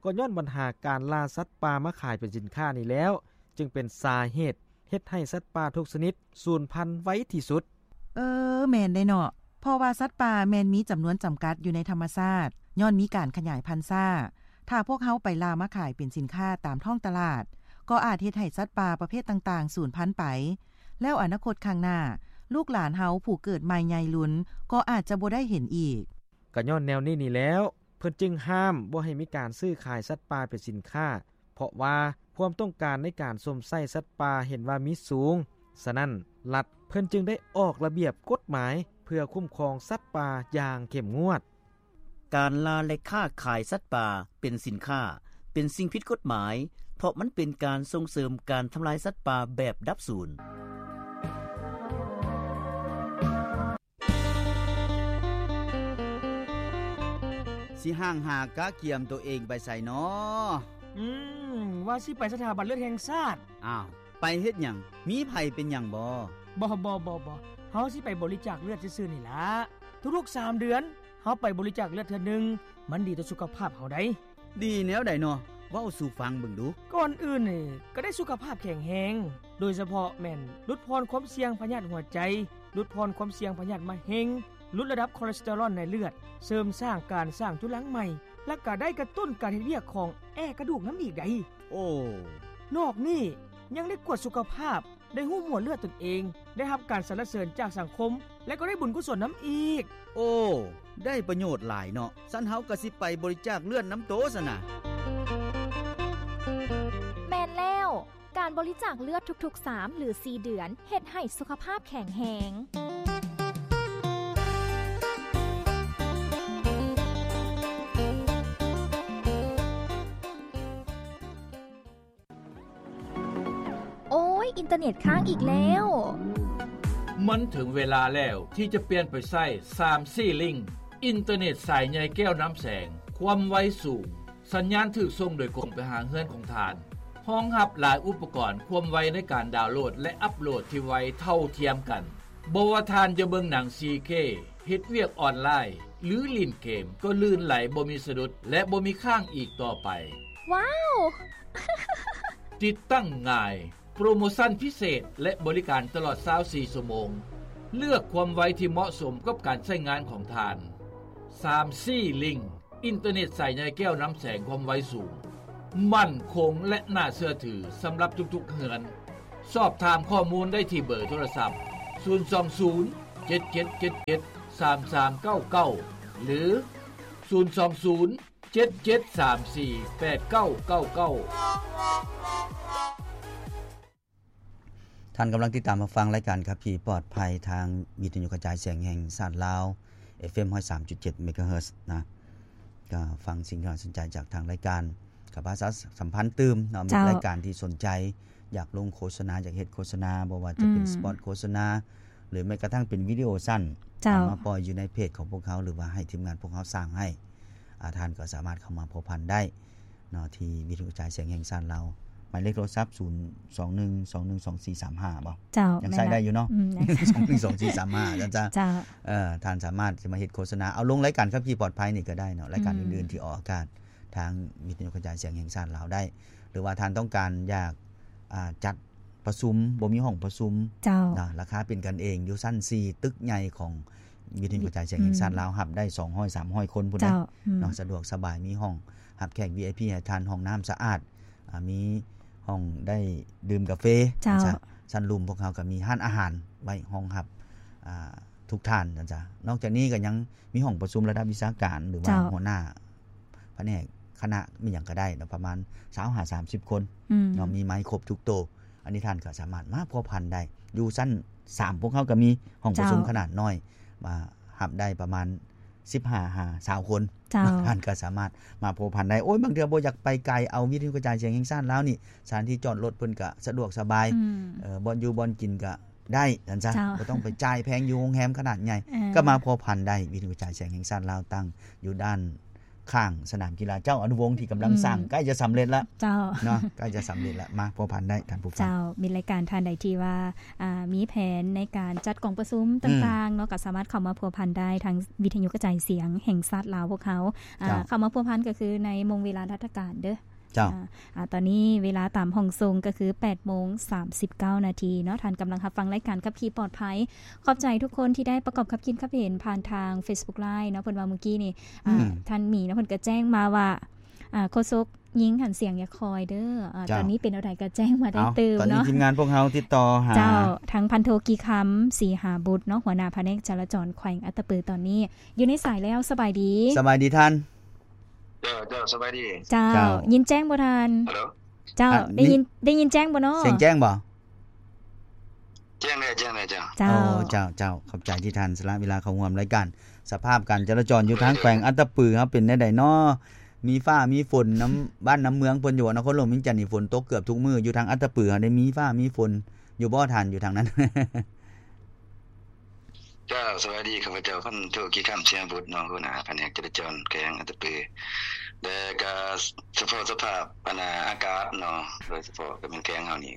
ກໍຍ້ອນບັນຫາການລ່າສັດປ່າມາຂາຍເປັນສິນຄ້ານີ້ແລ້ວ ຈຶ່ງເປັນສາເຫດເຮັດໃຫ້ສັດປ່າທຸກຊະນິດສູນພັນໄວທີ່ສຸດ. ເອີ ແມ່ນເດ້ເນາະ ເພາະວ່າສັດປ່າແມ່ນມີຈຳນວນຈຳກັດຢູ່ໃນທຳມະຊາດ ຍ້ອນມີການຂະຫຍາຍພັນຊ້າ. ຖ້າພວກເຮົາໄປລ່າມາຂາຍເປັນສິນຄ້າຕາມທ້ອງຕະຫຼາດ ກໍອາດເຮັດໃຫ້ສັດປ່າປະເພດຕ່າງໆສູນພັນໄປ ແລ້ວອະນາຄົດຂ້າງໜ້າ ລູກຫຼານເຮົາຜູ້ເກີດໃໝ່ໃຫຍ່ລຸນກໍອາດຈະບໍ່ໄດ້ເຫັນອີກ. ກະຍ້ອນແນວນີ້ນີ້ແລ້ວ ເພິ່ນຈຶ່ງຫ້າມບໍ່ໃຫ້ມີການຊື້ຂາຍສັດປ່າເປັນສິນຄ້າ ເພາະວ່າຄວາມຕ້ອງການໃນການຊົມໃຊ້ສັດປ່າເຫັນວ່າມີສູງ. ສະນັ້ນ ລັດເພິ່ນຈຶ່ງໄດ້ອອກລະບຽບກົດໝາຍເພື່ອຄຸ້ມຄອງສັດປ່າຢ່າງເຂັ້ມງວດ. ການລ່າ ແລະ ຄ້າຂາຍສັດປ່າເປັນສິນຄ້າ ເປັນສິ່ງຜິດກົດໝາຍ ເພາະມັນເປັນການສົ່ງເສີມການທຳລາຍສັດປ່າແບບດັບສູນ. ຊິຫ່າງຫາກະກຽມໂຕເອງໄປໃສນໍ? ອືມ ວ່າຊິໄປສະຖາບັນເລືອດແຫ່ງຊາດ. ອ້າວ ໄປເຮັດຫຍັງ? ມີໃຜເປັນຫຍັງບໍ? ບໍ່ ບໍ່ ບໍ່ ບໍ່ ເຮົາຊິໄປບໍລິຈາກເລືອດຊື່ໆນີ້ລະ. ທຸກໆສາມເດືອນ ເຮົາໄປບໍລິຈາກເລືອດເທື່ອໜຶ່ງ ມັນດີຕໍ່ສຸຂະພາບເຮົາໃດ໋. ດີແນວໃດນໍ? ເວົ້າສູ່ຟັງເບິ່ງດູ. ກ່ອນອື່ນນີ້ ກໍໄດ້ສຸຂະພາບແຂງແຮງ ໂດຍສະເພາະແມ່ນຫຼຸດຜ່ອນຄວາມສ່ຽງພະຍາດຫົວໃຈ, ຫຼຸດຜ່ອນຄວາມສ່ຽງພະຍາດມະເຮັງ, ຫຼຸດລະດັບຄໍເລສເຕີຣອນໃນເລືອດ, ເສີມສ້າງການສ້າງຈຸລັງໃໝ່ ແລະ ກໍໄດ້ກະຕຸ້ນການເຮັດວຽກຂອງແອກະດູກນຳອີກໃດ໋. ໂອ້ ນອກນີ້ຍັງໄດ້ກວດສຸຂະພາບ, ໄດ້ຮູ້ໝວດເລືອດຕົນເອງ, ໄດ້ຮັບການສັນລະເສີນຈາກສັງຄົມ ແລະ ກໍໄດ້ບຸນກຸສົນນຳອີກ. ໂອ້ ໄດ້ປະໂຫຍດຫຼາຍເນາະ. ຊັ້ນເຮົາກໍຊິໄປບໍລິຈາກເລືອດນຳໂຕຊັ້ນນະ. ແມ່ນແລ້ວ, ການບໍລິຈາກເລືອດທຸກໆສາມ ຫຼື ສີ່ເດືອນ ເຮັດໃຫ້ສຸຂະພາບແຂງແຮງ. ໂອ້ຍ ອິນເຕີເນັດຄ້າງອີກແລ້ວ. ມັນເຖິງເວລາແລ້ວທີ່ຈະປ່ຽນໄປໃຊ້ ສາມຊີ ລິ້ງ ອິນເຕີເນັດສາຍໃຍແກ້ວນ້ຳແສງ ຄວາມໄວສູງ, ສັນຍານຖືກສົ່ງໂດຍກົງໄປຫາເຮືອນຂອງທ່ານ, ຮອງຮັບຫຼາຍອຸປະກອນ, ຄວາມໄວໃນການດາວໂຫຼດ ແລະ ອັບໂຫຼດທີ່ໄວເທົ່າທຽມກັນ. ບໍ່ວ່າທ່ານຈະເບິ່ງໜັງ ສີ່ເຄ ເຮັດວຽກອອນລາຍ ຫຼື ຫຼິ້ນເກມ ກໍລື່ນໄຫຼບໍ່ມີສະດຸດ ແລະ ບໍ່ມີຄ້າງອີກຕໍ່ໄປ. ວ້າວ! ຕິດຕັ້ງງ່າຍ, ໂປຣໂມຊັນພິເສດ ແລະ ບໍລິການຕະຫຼອດຊາວສີ່ຊົ່ວໂມງ. ເລືອກຄວາມໄວທີ່ເໝາະສົມກັບການໃຊ້ງານຂອງທ່ານ. ສາມຊີ ລິ້ງ ອິນເຕີເນັດສາຍໃຍແກ້ວນ້ຳແສງຄວາມໄວສູງ, ໝັ້ນຄົງ ແລະ ໜ້າເຊື່ອຖືສຳລັບທຸກໆເຮືອນ. ສອບຖາມຂໍ້ມູນໄດ້ທີ່ເບີໂທລະສັບ ສູນສອງສູນ ເຈັດເຈັດເຈັດເຈັດ ສາມສາມເກົ້າເກົ້າ ຫຼື ສູນສອງສູນ ເຈັດເຈັດສາມສີ່ ແປດເກົ້າເກົ້າເກົ້າ. ທ່ານກຳລັງຕິດຕາມຮັບຟັງລາຍການຂັບຂີ່ປອດໄພທາງວິທະຍຸກະຈາຍສຽງແຫ່ງຊາດລາວ ເອັຟເອັມ ຮ້ອຍສາມຈຸດເຈັດ ເມກາເຮີດ ນະ. ກໍຟັງສິ່ງທີ່ໜ້າສົນໃຈຈາກທາງລາຍການ. ກໍປະຊາສຳພັນຕື່ມເນາະ ມີ ເຈົ້າ ລາຍການທີ່ສົນໃຈ ຢາກລົງໂຄສະນາ ຢາກເຮັດໂຄສະນາ ບໍ່ວ່າຈະເປັນ ອືມ ສະປອດໂຄສະນາ ຫຼືແມ້ກະທັ່ງເປັນວິດີໂອສັ້ນ ເຈົ້າ ເອົາມາປ່ອຍຢູ່ໃນເພຈຂອງພວກເຮົາ ຫຼືວ່າໃຫ້ທີມງານພວກເຮົາສ້າງໃຫ້ ອາ ທ່ານກໍສາມາດເຂົ້າມາພົວພັນໄດ້ເນາະ ທີ່ວິທະຍຸກະຈາຍສຽງແຫ່ງຊາດລາວ ໝາຍເລກໂທລະສັບ ສູນສອງໜຶ່ງສອງໜຶ່ງສອງສີ່ສາມຫ້າ ບໍ່? ເຈົ້າ ຍັງໃຊ້ໄດ້ຢູ່ເນາະ ອືມ ສອງໜຶ່ງສອງສີ່ສາມຫ້າ ເຈົ້າ ເຈົ້າ ເອີ ທ່ານສາມາດຈະມາເຮັດໂຄສະນາ ເອົາລົງລາຍການຂັບຂີ່ປອດໄພນີ້ກໍໄດ້ເນາະ ລາຍການ ອືມ ອື່ນໆທີ່ອອກອາກາດ ທາງວິທະຍຸກະຈາຍສຽງແຫ່ງຊາດລາວໄດ້ ຫຼືວ່າທ່ານຕ້ອງການຢາກ ອ່າ ຈັດປະຊຸມ ບໍ່ມີຫ້ອງປະຊຸມ ເຈົ້າ ນະ ລາຄາເປັນກັນເອງ ຢູ່ຊັ້ນສີ່ ຕຶກໃຫຍ່ຂອງວິທະຍຸກະຈາຍສຽງແຫ່ງຊາດ ອືມ ລາວ ຮັບໄດ້ສອງຮ້ອຍ ສາມຮ້ອຍຄົນພຸ້ນເດ້ ເຈົ້າ ເນາະ ອືມ ສະດວກສະບາຍ ມີຫ້ອງຮັບແຂກ ວີໄອພີ ໃຫ້ທ່ານ ຫ້ອງນ້ຳສະອາດ ອ່າ ມີຫ້ອງໄດ້ດື່ມກາເຟ ເຈົ້າ ຊັ້ນລຸ່ມພວກເຮົາກໍມີຮ້ານອາຫານໄວ້ຮອງຮັບ ອ່າ ທຸກທ່ານ ຊັ້ນຊະ ນອກຈາກນີ້ກໍຍັງມີຫ້ອງປະຊຸມລະດັບວິຊາການ ຫຼືວ່າ ເຈົ້າ ຫົວໜ້າ ພະແນກຄະນະມີຫຍັງກໍໄດ້ເນາະ ປະມານຊາວຫາສາມສິບຄົນ ອືມ ເນາະ ມີໄມຄົບທຸກໂຕ ອັນນີ້ທ່ານກໍສາມາດມາພົວພັນໄດ້ ຢູ່ຊັ້ນສາມ ພວກເຮົາກໍມີຫ້ອງປະຊຸມ ເຈົ້າ ຂະໜາດນ້ອຍ ມາຮັບໄດ້ປະມານສິບຫ້າຫາຊາວຄົນ ເຈົ້າ ທ່ານກໍສາມາດມາພົວພັນໄດ້ ໂອ້ຍ ບາງເທື່ອບໍ່ຢາກໄປໄກ ເອົາວິທະຍຸກະຈາຍສຽງແຫ່ງຊາດລາວນີ້ ສະຖານທີ່ຈອດລົດເພິ່ນກໍສະດວກສະບາຍ ອືມ ເອີ ບ່ອນຢູ່ບ່ອນກິນກໍ ໄດ້ ຊັ້ນຊະ ເຈົ້າ ບໍ່ຕ້ອງໄປຈ່າຍແພງຢູ່ໂຮງແຮມຂະໜາດໃຫຍ່ ເອີ ກໍມາພົວພັນໄດ້ ວິທະຍຸກະຈາຍສຽງແຫ່ງຊາດລາວ ຕັ້ງຢູ່ດ້ານຂ້າງສະໜາມກິລາເຈົ້າອະນຸວົງ ທີ່ກຳລັງ ອືມ ສ້າງ ໃກ້ຈະສຳເລັດລະ ເຈົ້າ ເນາະ ໃກ້ຈະສຳເລັດລະ ມາພົວພັນໄດ້ທ່ານຜູ້ຟັງ ເຈົ້າ ມີລາຍການທ່ານໃດທີ່ວ່າ ອ່າ ມີແຜນໃນການຈັດກອງປະຊຸມ ອືມ ຕ່າງໆເນາະ ກໍສາມາດເຂົ້າມາພົວພັນໄດ້ທາງວິທະຍຸກະຈາຍສຽງແຫ່ງຊາດລາວພວກເຮົາ ອ່າ ເຈົ້າ ເຂົ້າມາພົວພັນກໍຄືໃນໂມງເວລາລາຊະການເດີ້ ເຈົ້າ ອາ ອາ ຕອນນີ້ເວລາຕາມຫ້ອງສົ່ງກໍຄືແປດໂມງສາມສິບເກົ້ານາທີເນາະ ທ່ານກຳລັງຮັບຟັງລາຍການຂັບຂີ່ປອດໄພ ຂອບໃຈທຸກຄົນທີ່ໄດ້ປະກອບຄຳຄິດຄຳເຫັນຜ່ານທາງ Facebook Live ເນາະ ເພິ່ນວ່າມື້ກີ້ນີ້ ອືມ ອາ ທ່ານໝີເນາະ ເພິ່ນກໍແຈ້ງມາວ່າ ອາ ໂຄສົກຍິງຫັ້ນສຽງຢ່າຄ່ອຍເດີ້ ອາ ເຈົ້າ ຕອນນີ້ເປັນແນວໃດກໍແຈ້ງມາໄດ້ຕື່ມເນາະ ຕອນນີ້ທີມງານພວກເຮົາຕິດຕໍ່ຫາ ເຈົ້າ ທາງພັນໂທ ກີຄຳ ສີຫາບຸດເນາະ ຫົວໜ້າພະແນກຈະລາຈອນແຂວງອັດຕະປື ຕອນນີ້ຢູ່ໃນສາຍແລ້ວ ສະບາຍດີ ສະບາຍດີທ່ານ ເຈົ້າ ເຈົ້າ ສະບາຍດີ ເຈົ້າ ເຈົ້າ ຍິນແຈ້ງບໍ່ທ່ານ? ຮັລໂຫຼ ເຈົ້າ ອາ ໄດ້ຍິນ ໄດ້ຍິນແຈ້ງບໍ່ເນາະ? ສຽງແຈ້ງບໍ່? ແຈ້ງແລ້ວ ແຈ້ງແລ້ວ ເຈົ້າ ເຈົ້າ ໂອ້ ເຈົ້າ ເຈົ້າ ຂອບໃຈທີ່ທ່ານສະຫຼະເວລາເຂົ້າຮ່ວມລາຍການ ສະພາບການຈະລາຈອນຢູ່ທາງແຂວງອັດຕະປືເຮົາເປັນແນວໃດເນາະ? ມີຟ້າມີຝົນນຳບ້ານນຳເມືອງເພິ່ນຢູ່ບໍ່? ນະຄອນຫຼວງວຽງຈັນນີ້ຝົນຕົກເກືອບທຸກມື້ ຢູ່ທາງອັດຕະປືເຮົາໄດ້ມີຟ້າມີຝົນຢູ່ບໍ່ທ່ານ ຢູ່ທາງນັ້ນ? ເຈົ້າ ສະບາຍດີ ຂ້າພະເຈົ້າ ພັນໂທ ກີຄຳ ສຽງບຸດເນາະ ຫົວໜ້າພະແນກຈະລາຈອນແຂວງອັດຕະປື ແລະກະສະເພາະສະພາບ ອັນນ່າ ອາກາດເນາະ ໂດຍສະເພາະກໍແມ່ນແຂວງເຮົານີ້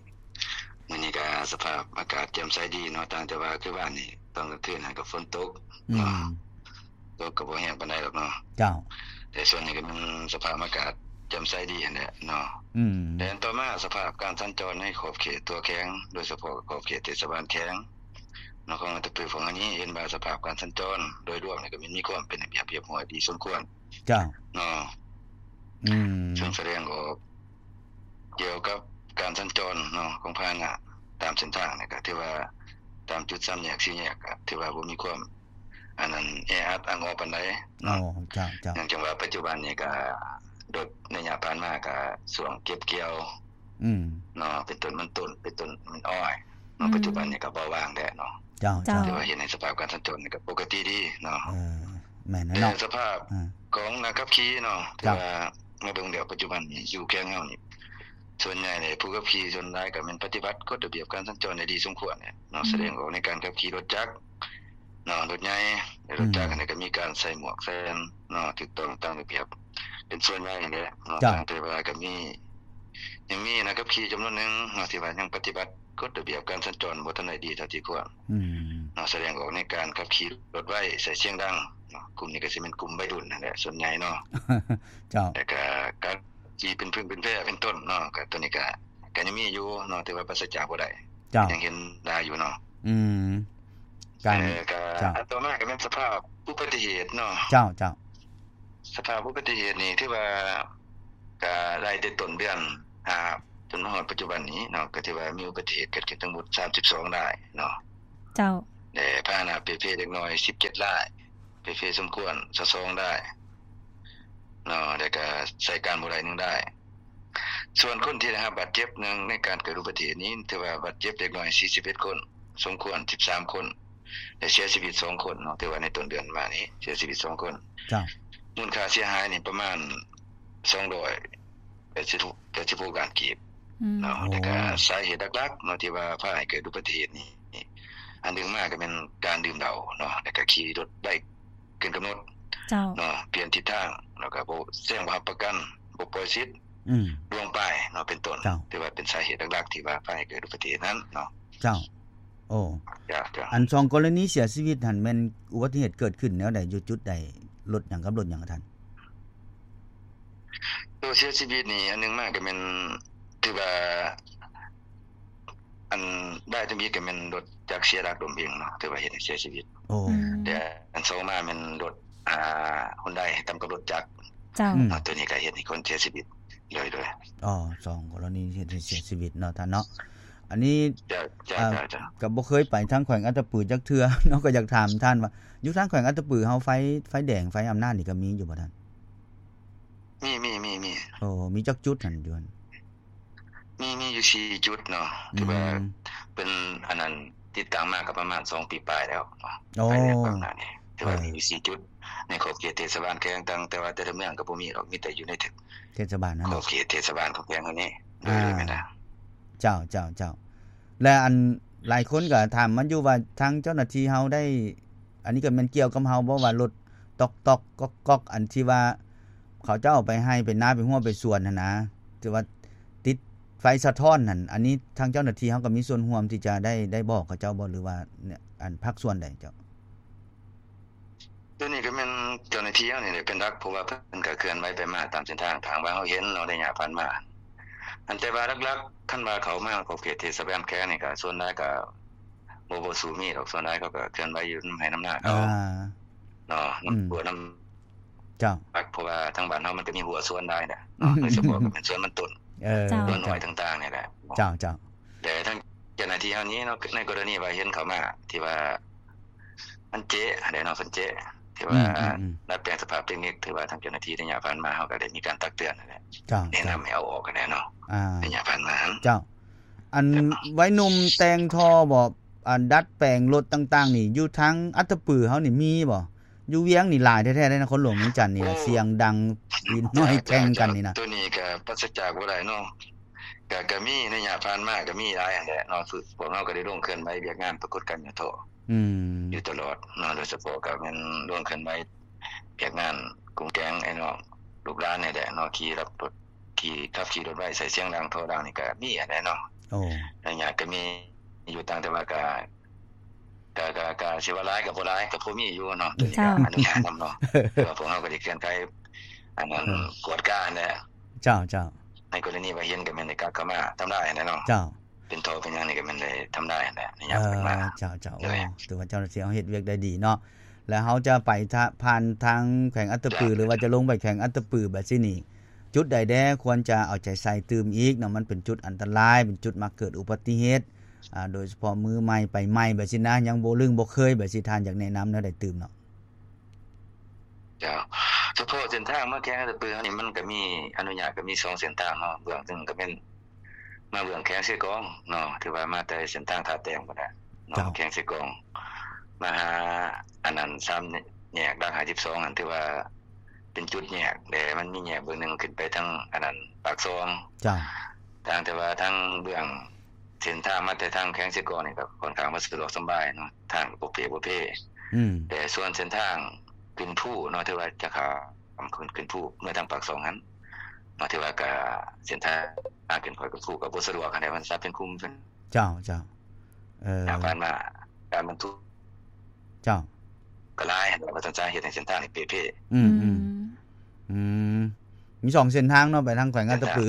ມື້ນີ້ກະສະພາບອາກາດແຈ່ມໃສດີເນາະ ຕ່າງແຕ່ວ່າຄືວານນີ້ຕອນກາງຄືນຫັ້ນກໍຝົນຕົກເນາະ ອືມ ຕົກກໍບໍ່ແຮງປານໃດດອກເນາະ ເຈົ້າ ແຕ່ຊ່ວງນີ້ກໍແມ່ນສະພາບອາກາດແຈ່ມໃສດີຫັ້ນແຫຼະເນາະ ອືມ ແລະຕໍ່ມາສະພາບການສັນຈອນໃນຂອບເຂດຕົວແຂວງ ໂດຍສະເພາະຂອບເຂດເທດສະບານແຂວງ ເນາະ ຂອງອັດຕະປືຂອງເຮົານີ້ ເຫັນວ່າສະພາບການສັນຈອນໂດຍລວມນີ້ກໍມີ ມີຄວາມເປັນລະບຽບຮຽບຮ້ອຍດີສົມຄວນ ເຈົ້າ ເນາະ ອືມ ເຊິ່ງສະແດງອອກກ່ຽວກັບການສັນຈອນເນາະ ຂອງພາຫະນະຕາມເສັ້ນທາງນີ້ ກໍຖືວ່າຕາມຈຸດສາມແຍກ ສີ່ແຍກ ກໍຖືວ່າບໍ່ມີຄວາມ ອັນນັ້ນ ແອອັດອັ່ງອໍປານໃດເນາະ ເຈົ້າ ເຈົ້າ ເນື່ອງຈາກວ່າປັດຈຸບັນນີ້ກໍລົດໃນໄລຍະຜ່ານມາກໍຊ່ວງເກັບກ່ຽວ ອືມ ເນາະ ເປັນຕົ້ນມັນຕົ້ນ ເປັນຕົ້ນມັນອ້ອຍເນາະ ອືມ ປັດຈຸບັນນີ້ກໍເບົາບາງແລ້ວເນາະ ເຈົ້າ ເຈົ້າ ເຈົ້າ ຖືວ່າເຮັດໃຫ້ສະພາບການສັນຈອນນີ້ກໍປົກກະຕິດີເນາະ ເອີ ແມ່ນແລ້ວເນາະ ແຕ່ສະພາບ ເອີ ຂອງນັກຂັບຂີ່ເນາະ ເຈົ້າ ຖືວ່າມາເບິ່ງແລ້ວປັດຈຸບັນນີ້ຢູ່ແຂວງເຮົານີ້ ສ່ວນໃຫຍ່ນີ້ຜູ້ຂັບຂີ່ສ່ວນຫຼາຍກໍແມ່ນປະຕິບັດກົດລະບຽບການສັນຈອນໄດ້ດີສົມຄວນເນາະ ອືມ ສະແດງອອກໃນການຂັບຂີ່ລົດຈັກ ເນາະ ລົດໃຫຍ່ ແລະ ອືມ ລົດຈັກຫັ້ນກໍມີການໃສ່ໝວກໃສ່ແວ່ນເນາະ ຖືກຕ້ອງຕາມລະບຽບ ເປັນສ່ວນໃຫຍ່ຫັ້ນແຫຼະເນາະ ເຈົ້າ ຕ່າງແຕ່ວ່າກໍມີ ຍັງມີນັກຂັບຂີ່ຈຳນວນໜຶ່ງເນາະ ທີ່ວ່າຍັງປະຕິບັດກົດລະບຽບການສັນຈອນບໍ່ທັນໄດ້ດີເທົ່າທີ່ຄວນ ອືມ ເນາະ ສະແດງອອກໃນການຂັບຂີ່ລົດໄວ ໃສ່ສຽງດັງເນາະ ກຸ່ມນີ້ກໍຊິແມ່ນກຸ່ມໄວລຸ້ນຫັ້ນແຫຼະ ສ່ວນໃຫຍ່ເນາະ ເຈົ້າ ແລ້ວກໍການຂີ່ເປັນຜຶ່ງເປັນແພເປັນຕົ້ນເນາະ ກໍຕົວນີ້ກໍ ກໍຍັງມີຢູ່ເນາະ ຖືວ່າປາສະຈາກບໍ່ໄດ້ ເຈົ້າ ຍັງເຫັນຫຼາຍຢູ່ເນາະ ອືມ ການ ເອີ ກໍ ເຈົ້າ ອັນຕໍ່ມາກໍແມ່ນສະພາບອຸບັດຕິເຫດເນາະ ເຈົ້າ ເຈົ້າ ສະພາບອຸບັດຕິເຫດນີ້ຖືວ່າກໍໄລ່ແຕ່ຕົ້ນເດືອນຫ້າ ຈົນມາຮອດປັດຈຸບັນນີ້ເນາະ ກໍຖືວ່າມີອຸບັດຕິເຫດເກີດຂຶ້ນທັງໝົດສາມສິບສອງລາຍເນາະ ເຈົ້າ ແລະ ພາຫະນະເປ່ເພເດັກນ້ອຍສິບເຈັດລາຍ ເປ່ເພສົມຄວນຊາວສອງລາຍເນາະ ແລ້ວກໍໃຊ້ການບໍ່ໄດ້ໜຶ່ງລາຍ ສ່ວນຄົນທີ່ໄດ້ຮັບບາດເຈັບໃນ ໃນການເກີດອຸບັດຕິເຫດນີ້ ຖືວ່າບາດເຈັບເດັກນ້ອຍສີ່ສິບເອັດຄົນ ສົມຄວນສິບສາມຄົນ ແລະ ເສຍຊີວິດສອງຄົນເນາະ ຖືວ່າໃນຕົ້ນເດືອນມານີ້ເສຍຊີວິດສອງຄົນ ເຈົ້າ ມູນຄ່າເສຍຫາຍນີ້ປະມານສອງຮ້ອຍ ດສິບ ແປດສິບຫົກລ້ານກີບ ອືມ ເນາະ. ໂອ້ ແລ້ວກະສາເຫດຫຼັກໆເນາະ ທີ່ວ່າພາໃຫ້ເກີດອຸບັດຕິເຫດນີ້ ອັນໜຶ່ງມາກໍແມ່ນການດື່ມເຫຼົ້າເນາະ ແລ້ວກະຂີ່ລົດໄບເກີນກຳນົດ ເຈົ້າ ເນາະ ປ່ຽນທິດທາງ ແລ້ວກະບໍ່ແຈ້ງບໍ່ຮັບປະກັນ ບໍ່ປ່ອຍສິດ ອືມ ລ່ວງປ້າຍເນາະ ເປັນຕົ້ນ ເຈົ້າ ຖືວ່າເປັນສາເຫດຫຼັກໆ ທີ່ວ່າພາໃຫ້ເກີດອຸບັດຕິເຫດນັ້ນເນາະ. ເຈົ້າ ໂອ້ ເຈົ້າ ເຈົ້າ ອັນສອງກໍລະນີເສຍຊີວິດຫັ້ນ ແມ່ນອຸບັດຕິເຫດເກີດຂຶ້ນແນວໃດ ຢູ່ຈຸດໃດ ລົດຫຍັງກັບລົດຫຍັງທ່ານ? ໂຕເສຍຊີວິດນີ້ ອັນໜຶ່ງມາກໍແມ່ນ ຖືວ່າ ອັນຫຼາຍທຳອິດກໍແມ່ນລົດຈັກເສຍຫຼັກລົ້ມເອງເນາະ ຖືວ່າເຮັດໃຫ້ເສຍຊີວິດ. ໂອ້ ອືມ ແຕ່ອັນສອງມາແມ່ນລົດ ອ່າ ຮຸນໄດຕຳກັບລົດຈັກ ເຈົ້າ ອືມ ເນາະ ໂຕນີ້ກໍເຮັດໃຫ້ຄົນເສຍຊີວິດ ໂດຍ ໂດຍ ອໍ ສອງກໍລະນີເຮັດໃຫ້ເສຍຊີວິດເນາະທ່ານເນາະ. ອັນນີ້ ເຈົ້າ ເຈົ້າ ອ່າ ເຈົ້າ ເຈົ້າ ກໍບໍ່ເຄີຍໄປທາງແຂວງອັດຕະປືຈັກເທື່ອເນາະ ກໍຢາກຖາມທ່ານວ່າ ຢູ່ທາງແຂວງອັດຕະປືເຮົາ ໄຟ ໄຟແດງ ໄຟອຳນາດນີ້ກໍມີຢູ່ບໍ່ທ່ານ? ມີ ມີ ມີ ມີ. ໂອ້ ມີຈັກຈຸດຫັ້ນຢູ່ຫັ້ນ? ມີ ມີຢູ່ສີ່ຈຸດເນາະ ອືມ ຖືວ່າເປັນອັນນັ້ນ ຕິດຕັ້ງມາກໍປະມານສອງປີປາຍແລ້ວເນາະ. ໂອ້ ໄຟແດງອຳນາດນີ້ ຖືວ່າ ເອີ ມີຢູ່ສີ່ຈຸດ ໃນຂອບເຂດເທດສະບານແຂວງຕ່າງ ແຕ່ວ່າແຕ່ລະເມືອງກໍບໍ່ມີດອກ ມີແຕ່ຢູ່ໃນເທດ ເທດສະບານຫັ້ນ ຂອບເຂດເທດສະບານຂອງແຂວງເຮົານີ້. ອ່າ ໂດຍ ໂດຍ ແມ່ນລະ. ເຈົ້າ ເຈົ້າ ເຈົ້າ ແລະ ອັນຫຼາຍຄົນກໍຖາມມາຢູ່ວ່າ ທາງເຈົ້າໜ້າທີ່ເຮົາໄດ້ ອັນນີ້ກໍແມ່ນກ່ຽວກັບເຮົາບໍ່ ວ່າລົດຕອກໆ ກອກໆ ອັນທີ່ວ່າເຂົາເຈົ້າໄປໄຮ່ໄປນາ ໄປຮົ້ວໄປສວນຫັ້ນນະ ທີ່ວ່າຕິດໄຟສະທ້ອນຫັ້ນ ອັນນີ້ທາງເຈົ້າໜ້າທີ່ເຮົາກໍມີສ່ວນຮ່ວມທີ່ຈະໄດ້ ໄດ້ບອກເຂົາເຈົ້າບໍ່ ຫຼືວ່າ ອັນ ພາກສ່ວນໃດເຈົ້າ? ໂຕນີ້ກໍແມ່ນເຈົ້າໜ້າທີ່ເຮົານີ້ແຫຼະເປັນຫຼັກ ເພາະວ່າເພິ່ນກໍເຄື່ອນໄຫວໄປມາຕາມເສັ້ນທາງ ຖ້າຫາກວ່າເຮົາເຫັນເນາະ ໄລຍະຜ່ານມາ. ອັນແຕ່ວ່າຫຼັກໆ ຄັນວ່າເຂົ້າມາຂອບເຂດເທດສະບານແຂວງນີ້ ກໍສ່ວນຫຼາຍກໍບໍ່ ບໍ່ສູ້ມີດອກ ສ່ວນຫຼາຍເຂົາກໍເຄື່ອນໄຫວຢູ່ນຳໄຮ່ນຳນາເຂົາ ອ່າ ເນາະ ນຳ ອືມ ຮົ້ວນຳ ເຈົ້າ ເພາະວ່າທາງບ້ານເຮົາມັນກໍມີຮົ້ວສວນຫຼາຍນະເນາະ ໂດຍສະເພາະກໍແມ່ນສວນມັນຕົ້ນ ເອີ ເຈົ້າ ສວນອ້ອຍຕ່າງໆນີ້ແຫຼະ. ເຈົ້າ ເຈົ້າ ແຕ່ທາງເຈົ້າໜ້າທີ່ເຮົານີ້ເນາະ ໃນກໍລະນີວ່າເຫັນເຂົາມາ ທີ່ວ່າມັນເຈະຫັ້ນແຫຼະເນາະ ເພິ່ນເຈະ ທີ່ວ່າ ອືມ ອືມ ອືມ ດັດແປງສະພາບເຕັກນິກ ຖືວ່າທາງເຈົ້າໜ້າທີ່ໄລຍະຜ່ານມາ ເຮົາກໍໄດ້ມີການຕັກເຕືອນຫັ້ນແຫຼະ ເຈົ້າ ແນະນຳໃຫ້ເອົາອອກຫັ້ນແຫຼະເນາະ ອ່າ ໄລຍະຜ່ານມາ. ເຈົ້າ ອັນໄວໜຸ່ມແຕ່ງທໍ່ບໍ່ ອັນດັດແປງລົດຕ່າງໆນີ້ ຢູ່ທາງອັດຕະປືເຮົານີ້ມີບໍ່? ຢູ່ວຽງນີ້ຫຼາຍແທ້ໆເດ້ນະ ນະຄອນຫຼວງວຽງຈັນນີ້ນະ ໂອ້ ສຽງດັງ ຕີນນ້ອຍແຂ່ງກັນນີ້ນະ. ໂຕນີ້ກໍປາສະຈາກບໍ່ໄດ້ເນາະ ກໍ ກໍມີໄລຍະຜ່ານມາກໍມີຫຼາຍຫັ້ນແຫຼະເນາະ ຄືພວກເຮົາກໍໄດ້ລົງເຄື່ອນໄຫວວຽກງານປາກົດການຫຍໍ້ທໍ້ ອືມ ຢູ່ຕະຫຼອດເນາະ ໂດຍສະເພາະກໍແມ່ນລົງເຄື່ອນໄຫວວຽກງານກຸມແກງໄອ້ນ້ອງລູກຫຼານນີ້ແຫຼະເນາະ ຂີ່ລັບລົດ ຂີ່ ຂັບຂີ່ລົດໄວ ໃສ່ສຽງດັງ ທໍ່ດັງນີ້ກໍມີຫັ້ນແຫຼະເນາະ. ໂອ້ ໄລຍະກໍມີຢູ່ ຕ່າງແຕ່ວ່າກໍ ກະ ກະ ກະຊິວ່າຫຼາຍກໍບໍ່ຫຼາຍ ກໍພໍມີຢູ່ເນາະ ໂດຍ ເຈົ້າ ກະອະນຸຍາດນຳເນາະ ເພາະວ່າພວກເຮົາກໍໄດ້ເຄື່ອນໄຂ ອັນນັ້ນ ເອີ ກວດກາຫັ້ນແຫຼະ. ເຈົ້າ ເຈົ້າ ໃນກໍລະນີວ່າເຫັນກໍແມ່ນໄດ້ກັບເຂົ້າມາທຳລາຍຫັ້ນແຫຼະເນາະ. ເຈົ້າ ເປັນທໍ່ເປັນຫຍັງນີ້ກໍແມ່ນໄດ້ທຳລາຍຫັ້ນແຫຼະ ໃນຍາມ ເອີ ເພິ່ນມາ. ເຈົ້າ ເຈົ້າ ໂດຍ ໂອ້ ຖືວ່າເຈົ້າໜ້າທີ່ເຮົາເຮັດວຽກໄດ້ດີເນາະ ແລ້ວເຮົາຈະໄປທະ ຜ່ານທາງແຂວງອັດຕະປື ເຈົ້າ ຫຼືວ່າຈະລົງໄປແຂວງອັດຕະປືແບບຊີ້ນີ້ ຈຸດໃດແດ່ຄວນຈະເອົາໃຈໃສ່ຕື່ມອີກເນາະ ມັນເປັນຈຸດອັນຕະລາຍ ເປັນຈຸດມັກເກີດອຸບັດຕິເຫດ ອ່າ ໂດຍສະເພາະມືໃໝ່ໄປໃໝ່ແບບຊີ້ນະ ຍັງບໍ່ລຶ້ງບໍ່ເຄີຍແບບຊີ້ ທ່ານຢາກແນະນຳແນວໃດຕື່ມເນາະ? ເຈົ້າ ສະເພາະເສັ້ນທາງມາແຂວງອັດຕະປືເຮົານີ້ ມັນກໍມີ ອະນຸຍາດກໍມີສອງເສັ້ນທາງເນາະ ເບື້ອງໜຶ່ງກໍແມ່ນມາເບື້ອງແຂວງເຊກອງເນາະ ຖືວ່າມາແຕ່ເສັ້ນທາງທ່າແຕ້ມພຸ້ນແຫຼະເນາະ ເຈົ້າ ແຂວງເຊກອງ ມາຫາອັນນັ້ນ ສາມແຍກຫຼັກຫ້າສິບສອງຫັ້ນ ຖືວ່າເປັນຈຸດແຍກແດ່ ມັນມີແຍກເບື້ອງໜຶ່ງຂຶ້ນໄປທາງອັນນັ້ນ ປາກຊ່ອງ ເຈົ້າ ຕ່າງແຕ່ວ່າທາງເບື້ອງ ເສັ້ນທາງມາແຕ່ທາງແຂວງເຊກອງນີ້ກໍຄ່ອນຂ້າງວ່າສະດວກສະບາຍເນາະ ທາງກໍໂປເປໂປເປ ອືມ ແຕ່ສ່ວນເສັ້ນທາງຂຶ້ນພູເນາະ ຖືວ່າຈະຂ້າມຂຶ້ນ ຂຶ້ນພູເມືອທາງປາກຊ່ອງຫັ້ນເນາະ ຖືວ່າກໍເສັ້ນທາງຂຶ້ນ ຂ້ອຍຂຶ້ນພູກໍບໍ່ສະດວກຫັ້ນແຫຼະ ມັນສັບເປັນຂຸມເປັນ ເຈົ້າ ເຈົ້າ ເອີ ຜ່ານມາການບັນທຸກ ເຈົ້າ ກໍຫຼາຍ ວ່າຊັ້ນຊະ ເຮັດໃຫ້ເສັ້ນທາງນີ້ເປ່ເພ. ອືມ ອືມ ອືມ ອືມ ມີສອງເສັ້ນທາງເນາະ ໄປທາງແຂວງອັດຕະປື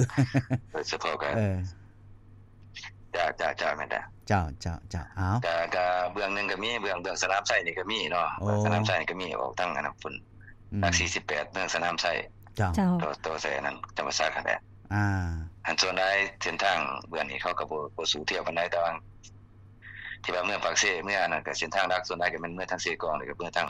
ໂດຍສະເພາະກໍ ເອີ ເຈົ້າ ເຈົ້າ ເຈົ້າ ແມ່ນແລ້ວ ເຈົ້າ ເຈົ້າ ເຈົ້າ ເອົາ ກະ ກະເບື້ອງໜຶ່ງກໍມີ ເບື້ອງ ເບື້ອງສະໜາມໄຊນີ້ກໍມີເນາະ ໂອ້ ສະໜາມໄຊນີ້ກໍມີອອກທາງອັນນັ້ນພຸ້ນ ອືມ ຫຼັກສີ່ສິບແປດ ເບື້ອງສະໜາມໄຊ ເຈົ້າ ຕໍ່ ຕໍ່ໃສ່ອັນນັ້ນ ຈຳປາສັກຫັ້ນແຫຼະ ອ່າ ອັນສ່ວນຫຼາຍເສັ້ນທາງເບື້ອງນີ້ເຂົາກໍບໍ່ ບໍ່ສູ້ທຽວປານໃດ ແຕ່ວ່າ ທີ່ວ່າເມືອປາກເຊ ເມືອອັນນັ້ນກໍເສັ້ນທາງຫຼັກ ສ່ວນຫຼາຍກໍແມ່ນເມືອທາງເຊກອງ ແລ້ວກໍເມືອທາງ